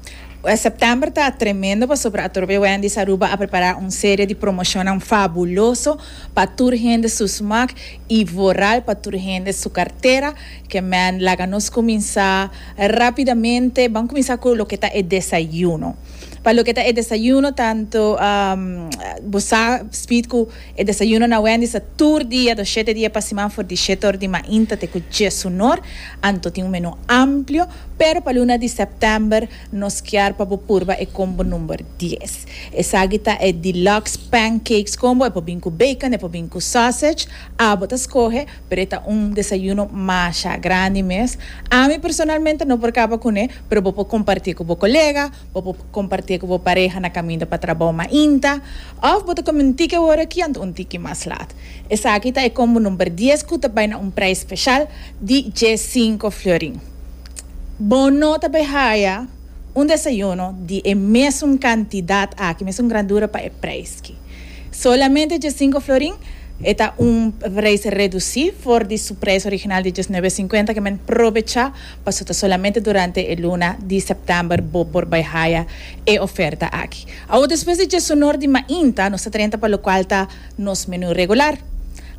Eh, Sèptèmber ta tremendo pasobra atrobe Wendy's Aruba a prepará un serie di promoshon fabuloso pa tur hende su smaak i vooral pa tur hende su kartera. Ke men laga nos kuminsá rápidamente. Ban kuminsá ku loke ta e desayuno. Pa loke ta e desayuno, tantu um, bo sa speed ku e desayuno na Wendy's ta tur dia, dos shete dia pa siman, for di shete or di mainta te ku diesun or, anto tin un menú amplio, pero pa luna di sèptèmber nos kier pa bo purba e combo number dies. Esaki ta e deluxe pancakes combo, e por bin ku bacon, e por bin ku sausage, abo ta skohe, pero ta un desayuno masha grandi mes. Ami personalmente no por kaba kuné, pero bo por kompartí ku bo kolega, bo por kompartí ku bo pareha na kaminda pa trabou mainta, òf bo ta kome un tiki awor aki anto un tiki mas lat. Esaki ta e combo number dies ku ta bai na un preis spesial di diesinku florin. Bo no ta haya un desayuno di e mesun kantidat aki, mesun grandura pa e preis aki. Solamente diesinku florin ta un preis redusí for di su preis original di diesnuebe sinkuenta, ke men probechá, pasobra solamente durante e luna di sèptèmber bo por bai haya e oferta aki. Awor, despues di diesun or di mainta, nos ta drenta pa lokual ta nos menú regular.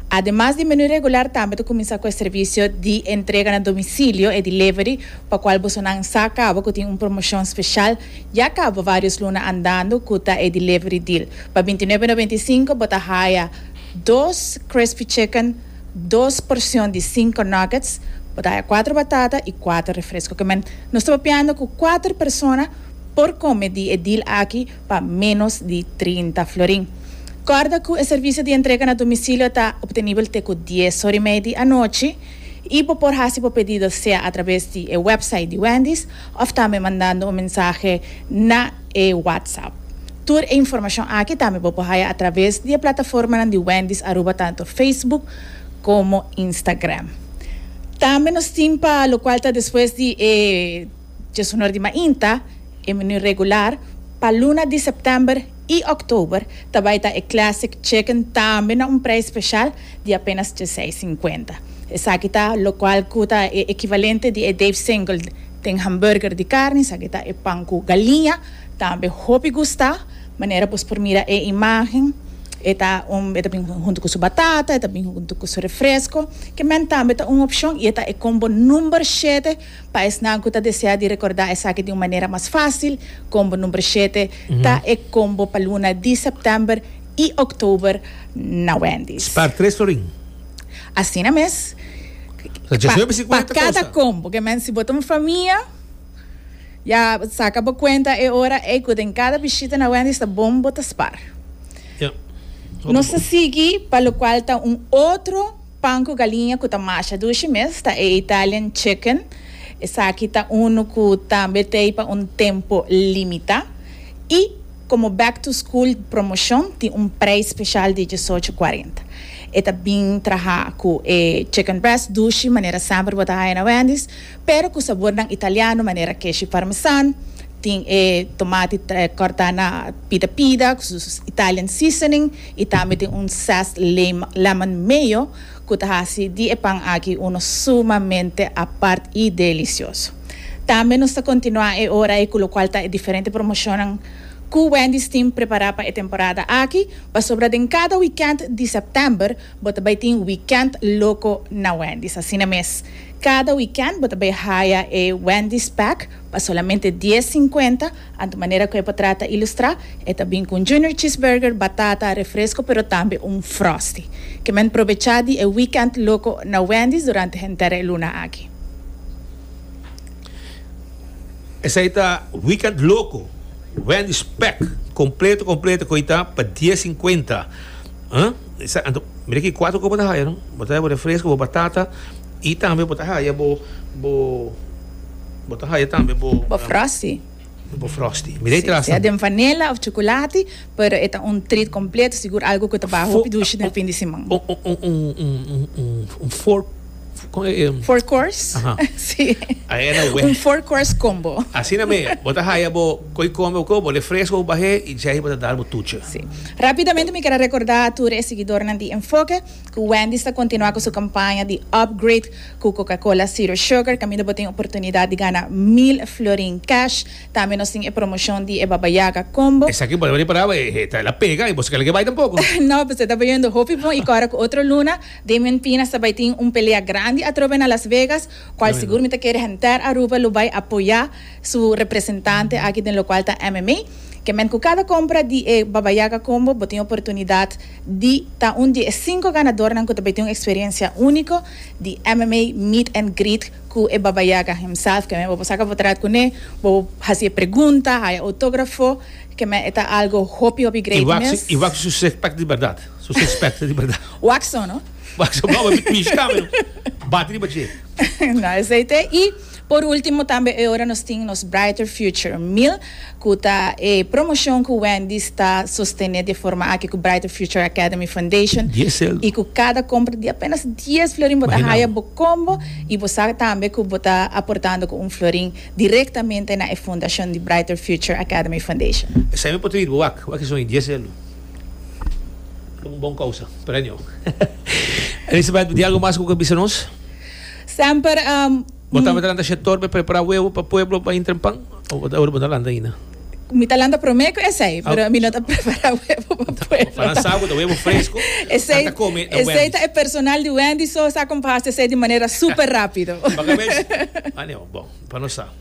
Ademas di menú regular, tambe ta kuminsá ku e servisio di entrega na domisilio e delivery, pa kual bo nan sa kaba ku tin un promoshon spesial, ya kaba vários luna andando, ku ta e delivery deal. Pa bintinuebe noventa i sinku bo ta haya dos crispy chicken, dos porshon di sinku nuggets, bo ta haya kuater batata i kuater refresko. Ke men nos ta papiando ku kuater persona por kome di e deal aki pa menos di trinta florin. Kòrda ku e servisio di entrega na domisilio ta optenibel te ku dies or i mei di anochi i bo por hasi bo pedido sea a traves di e website di Wendy's òf tambe mandando un mensahe na e WhatsApp. Tur e informashon aki tambe bo por haya a traves di e plataforma di Wendy's Aruba, tantu Facebook komo Instagram. Tambe nos tin pa lokual ta despues di eh, diesun or di mainta, e menú regular, pa luna di sèptèmber i òktober, tambe ta e Classic Chicken tambe na un preis spesial di apenas diesseis sinkuenta. Esaki ta lokual ku ta e ekivalente di e Dave Single tin hamburger di karni, esaki ta e pan ku galiña, tambe hopi gusta, manera bo por mira e imagen, e ta un e ta bin huntu ku su batata, e ta bin huntu ku su refresko, ke men tambe ta un opshon i ta e combo number shete pa esnan ku ta deseá di rekordá esaki di un manera mas fásil. Combo number shete ta e combo pa luna di sèptèmber i òktober na Wendy's. Spar tres florin. Asina mes. Pa, Pa kada combo, ke men si bo ta un famia, ya saka bo kuenta e ora e ku den kada bishita na Wendy's ta bon bo ta spar. Ja. Nos ta sigui pa lokual ta un otro pan ku galiña ku ta masha dushi mes, ta e Italian Chicken. Esaki ta un ku tambe tin pa un tempu limitá. I komo back to school promoshon, tin un preis spesial di diesocho kuarenta. E ta bin traha ku e chicken breast dushi, manera semper bo ta haya na Wendy's, pero ku sabor nan italiano, manera keshi parmesan, tin e tomati kòrtá na pida pida, ku Italian seasoning, i tambe tin un zest lemon mayo, ku ta hasi di e pan aki uno sumamente apart i delisioso. Tambe nos ta kontinuá e ora ei ku lokual ta diferente promoshon ku Wendy's tin prepará pa e temporada aki, pasobra den kada weekend di sèptèmber, bo ta bai tin weekend loko na Wendy's. Asina mes. Kada weekend bo ta bai haya e Wendy's pack pa solamente dies sinkuenta, anto manera ku e portrèt ta ilustrá, e ta bin ku junior cheeseburger, batata, refresko, pero tambe un frosty. Ke men probechá di e weekend loko na Wendy's durante henter e luna aki. Esaki ta weekend loko. Wendy's pack kompleto, kompleto, ku ta pa dies sinkuenta. Huh? Esa, anto, mira aki kuater kos bo ta haya, no? Bo ta haya refresko, batata i tambe bo ta haya bo bo bo ta haya tambe bo Bo frosty. Bo frosty. Mira atras. Sea di vanilla òf chukulati, pero e ta un treat kompleto, sigur algu ku ta bai hopi dushi na fin di siman. Un un un un un un, un four Kon eh, Four course? Aha. Si. Ayera we. Un four course combo. Asina mes, bo ta haya bo koi come ko, bo refresco bahe y jai bo ta dar bo tuche. Si. Rapidamente mi kier recorda tur e siguidornan di Enfoke cu Wendy's ta continua cu su campaña di upgrade cu Coca-Cola Zero Sugar, caminda bo tin oportunidad di gana mil florin cash. Tambe nos tin e promocion di Baba Yaga Combo. Esaki bo para, eh, ta la pega y bo kier bay tampoco. No, pues ta bayendo hopi bon y awor cu otro luna, Damian Pinas tambe tin un pelea grandi atrobe na Las Vegas, cual sigur mi ta kere henter Aruba lo bay apoya su representante aki den locual ta M M A. Kiermen cu cada compra di eh, Baba Yaga Combo, bo tin oportunidad di ta un di cinco ganadornan cu tambe tin un experiencia unico di M M A Meet and Greet cu e Baba Yaga himself, kiermen bo saca portret cu ne, bo haci pregunta, haya autografo, kiermen ta algo hopi hopi great Y wak mes. y wak su six-pack di berdad. Su six-pack di berdad. Waxo, no? Wak su baba mi bati bati. No, esey ta. Y, por ultimo, tambe awor nos tin nos Brighter Future Meal, cu ta e promocion cu Wendy's ta sostene di forma aki cu Brighter Future Academy Foundation. Dies cel. Y cu cada compra di apenas dies florin, bo ta Imagina. haya bo combo y bo tambe cu bo ta aportando cu un florin directamente na fundacion di Brighter Future Academy Foundation. Esey mi por tin, wak, wak son dies cel. Un bon causa, pero no. Elizabeth, di algo mas cu kier bisa nos? Semper um, Bo ta lanta sector pa prepara webo pa pueblo pa intra pan? Of bo ta lanta ainda? Mi ta lanta prome cu esey, pero Ah. mi no ta prepara webo pa pueblo. Pa lansa bo webo fresco. Esey, Tata come na esey Wendy's. ta e personal di Wendy so sa compassa esey di manera super rapido. Bacabes. Ah, no, bon, pa nos sa.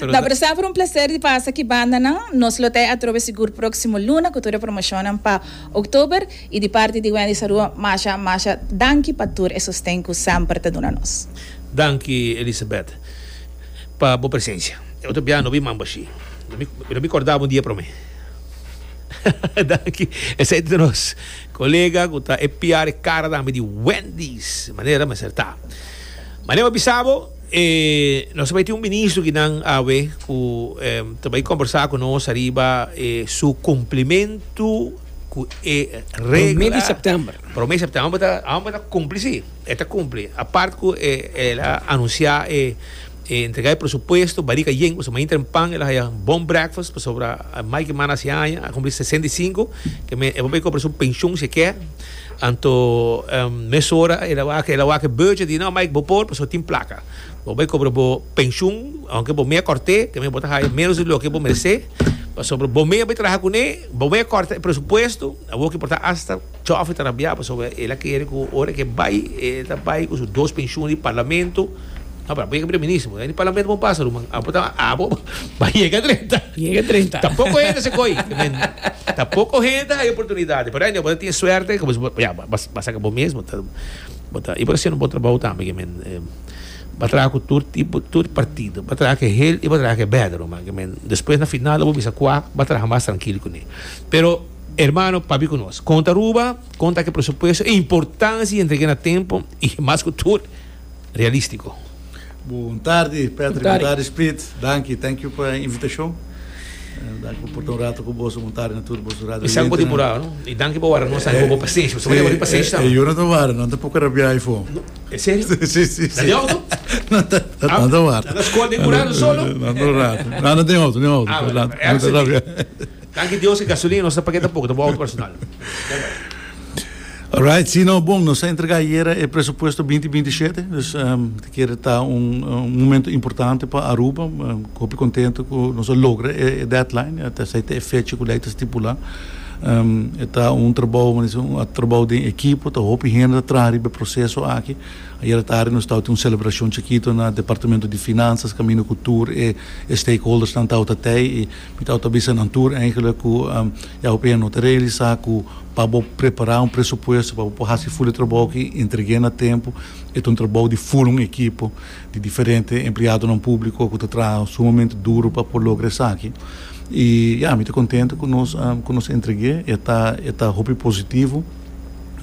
Pero No, pero semper un placer di pasa aki banda nan. Nos lo ta atrobe sigur proximo luna cu tur promocion pa october y di parti di Wendy Aruba, masha masha danki pa tur e sosten cu semper ta duna nos. Danki, Elizabeth, pa bo presencia. Otro biaha no bin mambashi. Mi mi corda un dia pa mi. Danki. Esey ta nos colega cu ta E P R cara di Wendy's. Manera mas ta. Manera bisa bo, eh, nos ta bay tin un ministro cu nan awe cu eh, tambe combersa cu nos ariba eh, su cumplimento cu e regla. Prome di september. Prome di september, abo ta cumpli, si. E ta cumpli. Aparte cu eh, el a anuncia eh, eh, entrega e presupuesto, barica yen, o sea, mainta pan, el a haya bon breakfast, sobre Mike Mana si aña, a cumpli sesenta y cinco, kiermen e bay cobra su pensioen si kier. Anto, um, mesora, el a wak, el a wak budget, di no, Mike, bo por, paso tin placa. Bo bay cobra bo pensioen, aunke bo mes a corta, kiermen bo ta haya menos di loke bo merece. Sobre bo mes bay traha cune, bo mes corta presupuesto, abo cu por ta hasta chofe trabalhar, sobre el a kier cu ora cu bay, e ta bay cu su dos pensioen di parlamento. No, pero bay ministro, den parlamento no pasa, ruman. Abo ta abo bay yega trinta. Yega trinta. Tampoco hende se coi. Tampoco hende hay oportunidad. Pero ainda bo tin suerte, como ya, vas vas a bo mes, ta ta y por haci un bon trabou tambe, kiermen eh, bay traha cu tur tipo, tur partido, bay traha cu hel y bay traha cu beter, man, kiermen despues na final bo bisa cua, bay traha mas trankil cu ne. Pero hermano, papi cu nos. Conta Aruba, conta cu presupuesto, importancia entrega na tempo y mas cu tur realistico. Bon tardi, Patrick. Bon tardi. Bon tardi, Sprit. Danki, thank you pa e invitacion. Uh, danki pa un rato cu bo, bon tardi na tur bo radio. Y sabi por temporada, no? Y danki pa awor, nos sabi pa pasenshi. Bo ta pasenshi Eh, eu não estou vara, não estou pouco rabiar iPhone. E serio? Si, si, Ta di auto? No, ta, Ah, no ta wara. na scol di curado solo? No, no, rato. No, no tin auto, no auto. Ah, No, bueno, no ta rabia. Danki Dios cu gasolina no ta paga tampoco, ta auto personal. Alright, si, no, bon, nos a entrega ayera e presupuesto dos mil bintishete, dus um, kier ta un, un momento importante pa Aruba, um, hopi contento cu nos a logra e deadline, te e fecha cu ley ta stipula. Um, ta un trabou, un trabou di ekipo, ta hopi hende tras di e proceso aki. Ayera tardi nos tabatin un celebracion chikito na Departamento di Finanzas, caminda cu tur e, e stakeholders nan tabata y mi tabata bisa nan tur eigenlijk cu um, ja, hopi hende no ta realisa cu pa prepara un presupuesto, pa haci full trabou cu entrega na tempo, e un trabou di full un ekipo di diferente empleadonan publico cu ta traha sumamente duro pa por logra esaki. Y ja, mi ta contento cu nos um, cu nos a entrega, ta ta hopi positivo.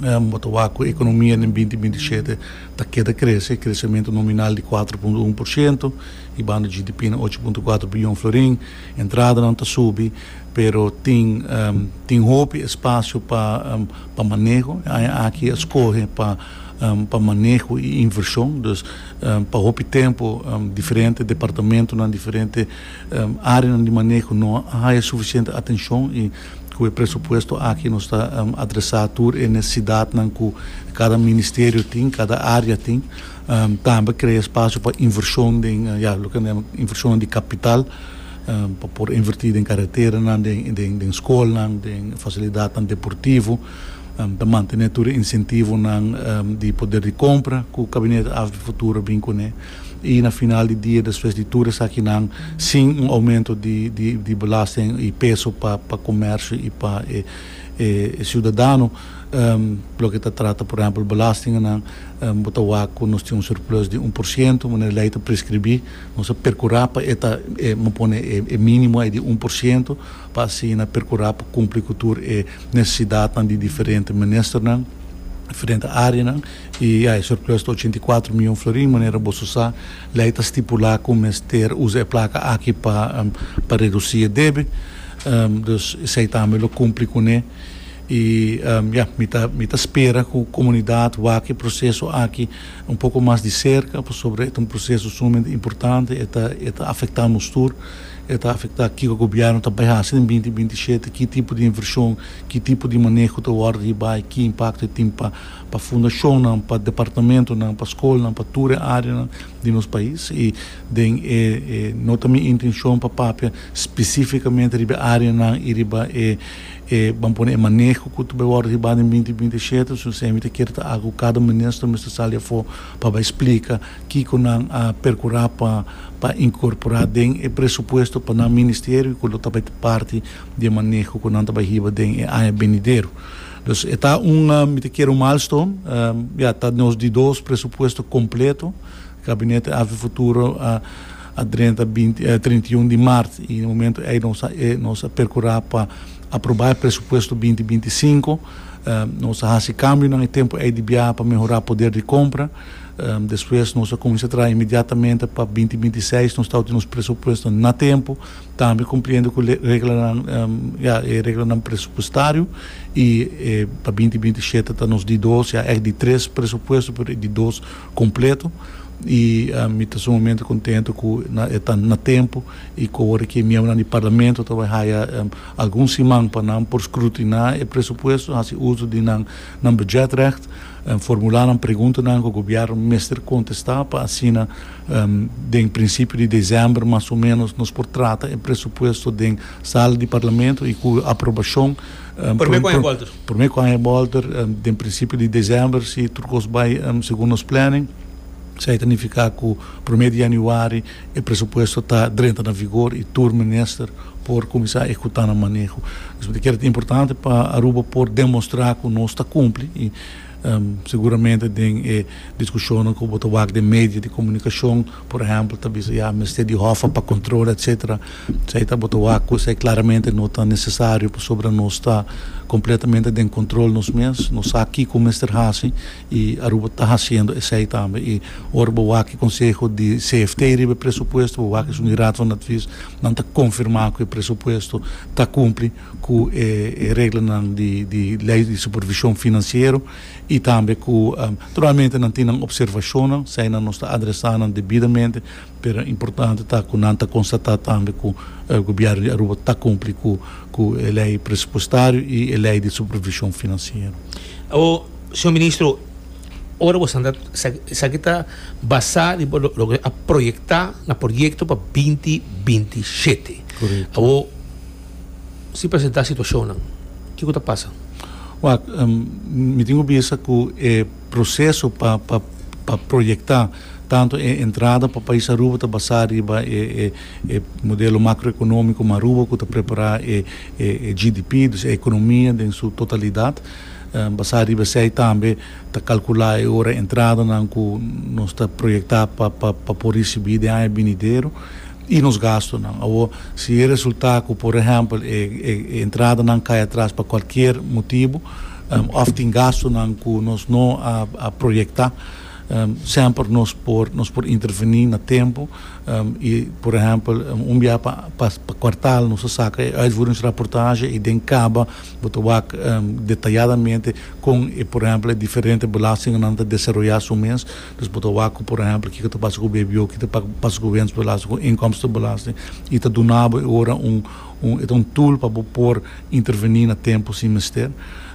Um, e economia den dos mil bintishete ta keda crece, crecemento nominal di kuater punto un porciento, y banda G D P na ocho punto kuater biyon florin, entrada nan ta subi, pero tin um, tin hopi espacio pa um, pa maneho, aki a scohe pa um, pa maneho y inversion. Dus um, pa hopi tempo um, diferente departamento na diferente um, area di maneho no tin suficiente atencion y cu e presupuesto aki nos ta um, adresa tur e necesidad cu cada ministerio tin, cada area tin. Um, tambe crea espacio pa inversion di, uh, ja, loke inversion di capital, um, pa por inverti den caretera, den, den, den scol, den facilidad deportivo, um, pa mantene tur incentivo nan, um, di poder di compra cu e gabinete A V P Futuro bin cune. Y na final di dia, despues di tur esaki nan, sin un aumento di, di, di belasting y peso pa pa comercio y pa e, e, ciudadano, um, loke ta trata, por ehempel, belasting nan, um, bo ta cu nos tin un surplus di un porciento, manera ley ta prescribi, nos a percura pa e ta e, pone e, e minimo e di un porciento, pa asina percura pa cumpli cu tur e necesidad di diferente ministernan, diferente area, y e surplus di ochenta y cuater miyon florin. Manera bo sa, ley ta stipula cu mester usa e placa aki pa um, pa reduci e debe, um, dus esey tambe lo cumpli cune. Y um, ja, mi ta, mi ta spera cu e comunidad wak e proceso aki un poco mas di cerca, pasobra e ta un proceso sumamente importante, ta ta afectando nos tur, ta afecta kico e gobierno ta bay haci den dos mil binti shete, ki tipo di inversion, ki tipo di maneho ta wordo bay, ki impacto tin pa pa fundacion, pa departamento, pa scol, pa tur area di nos pais. Y den e, e, no ta mi intencion pa papia specificamente riba area nan y riba e e ban pone maneho cu ta bay wordo riba den dos mil binti shete. So semper kier ta algo cada minister mester sali afo pa splica kico nan a percura pa pa incorpora den e presupuesto pa nan ministerio, cu ta parti di maneho cu nan ta hiba den e aña venidero. Dus ta un, um, kier un milestone, um, ja, ta nos di dos presupuesto completo. Gabinete A V Futuro a a trinta, binti, eh, trinta y un di maart y na momento ey nos eh, nos a percura pa aproba e presupuesto dos mil binti cinco. Um, nos a haci cambio na tempo ey di pa mehora poder di compra. Um, despues nos a cuminsa traha inmediatamente pa dos mil binti seis, nos ta tin presupuesto na tempo, tambe cumpliendo cu e regla, um, ja, regla presupuestario y eh, pa dos mil binti shete ta nos di dos, ja, e di tres presupuesto, pero di dos completo. Y um, mi ta sumamente contento cu ta na tempo y cu ora cu miembro di parlamento ta bay um, algun siman pa nan por scrutina e presupuesto, haci uso di nan nan budgetrecht, um, formula nan pregunta nan cu e gobierno mester contesta, pa asina um, den principio di december mas o menos nos por trata e presupuesto den sala di parlamento y cu aprobacion. Um, Por mi Walter. Por mi cu Walter, um, den principio di december, si tur cos bay um, segun nos planning. Esey ta significa cu prome di januari e presupuesto ta drenta na vigor y tur minister por cuminsa ehecuta e maneho. Esaki ta importante pa Aruba por demostra cu nos ta cumpli y um, seguramente tin eh, discusion cu bo ta wak den medio di comunicacion, por ehempel, ta bisa ja, mester di H O F pa control, et cetera. Esey ta bo ta wak cu esey claramente no ta necesario, pasobra nos ta completamente den control nos mes, nos sa kico mester haci y Aruba ta haciendo esey tambe. Y ora bo wak conseho di C F T riba presupuesto, bo wak e Raad van Advies, nan ta confirma cu e presupuesto ta cumpli cu e, e regla di, di ley di supervision financiero y tambe cu um, naturalmente nan tin observacion, esey nan ta adresando debidamente, pero importante ta cu nan ta constata tambe cu e gobierno di Aruba ta cumpli cu cu e ley presupuestario y e ley di supervision financiero. O, señor ministro, ora bo anda esaki ta basa riba loke a proyecta na proyecto pa dos mil binti shete. Corecto. O si presenta situacion, kico ta pasa? Well, um, mi tin bisa cu e proceso pa pa pa proyecta tanto e entrada pa pais Aruba ta basa riba e, e, e modelo macroeconomico Aruba cu ta prepara e, e, e G D P, dus e economia den su totalidad. Um, basa riba esey tambe ta calcula e ora entrada nan cu nos ta proyecta pa pa pa por ricibi den aña venidero y nos gasto nan. Of si resulta cu, por ehempel, e, e, entrada nan cay atras pa cualkier motibo, um, of tin gasto nan cu nos no a, a proyecta, um, semper nos por nos por interveni na tempo. Um, i, por ehèmpel, un biaha pa, pa, pa kwartaal nos ta saka uitvoeringsrapportage i den kaba bo ta wak um, detayadamente kon, e, por ehèmpel, diferente belastingnan ta desaroyá su mes. Dus bo ta wak, por ehèmpel, kiko ta pasa ku B B O, kiko ta pasa ku winstbelasting, ku inkomstenbelasting, i ta duna bo ora un un, un tool pa por intervení na tempu si mester.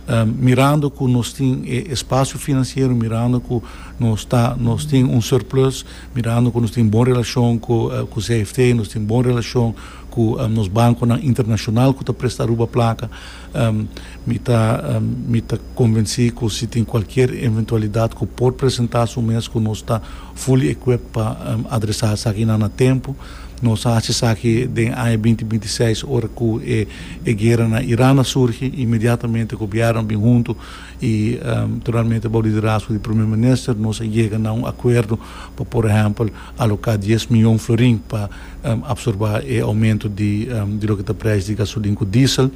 Um, mirando ku nos tin espasio finansiero, mirando ku nos ta nos tin un surplus, mirando ku nos tin bon relashon ku uh, ku C F T, nos tin bon relashon ku um, nos bankonan internashonal ku ta presta Aruba plaka, um, mi ta um, mi ta konvensí ku si tin kualke eventualidat ku por presentá su mes, ku nos ta fully equipped pa um, adresá esaki na tempu. Nos a sa ku den aña dos mil bintiseis, ora ku e, e guera na Iran a surgi, inmediatamente gobièrnu a bin huntu i um, naturalmente e liderazgo di promé minister, nos a yega na un akuerdo pa, por ehèmpel, aloká dies mion florin pa um, apsorbé e oumento di, um, di loke ta preis di gasolin ku diesel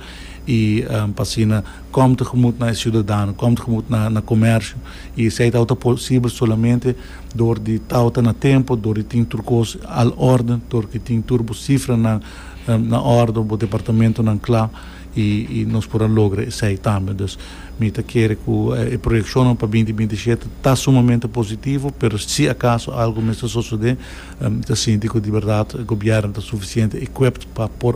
i um, pa asina kom tegemoet na siudadano, kom tegemoet na, na komersio, i esei ta posibel solamente dor di ta na tempu, dor di tin tur kos na orden, dor di tin tur sifranan um, na orden, e departamentonan kla i, i nos por logra esei tambe. Dus mi ta kere ku e proyekshon pa dos mil bintishete ta sumamente positivo, pero si akaso algu mester sosodé, um, ta sinti ku di berdat gobièrnu ta sufisiente equipped pa por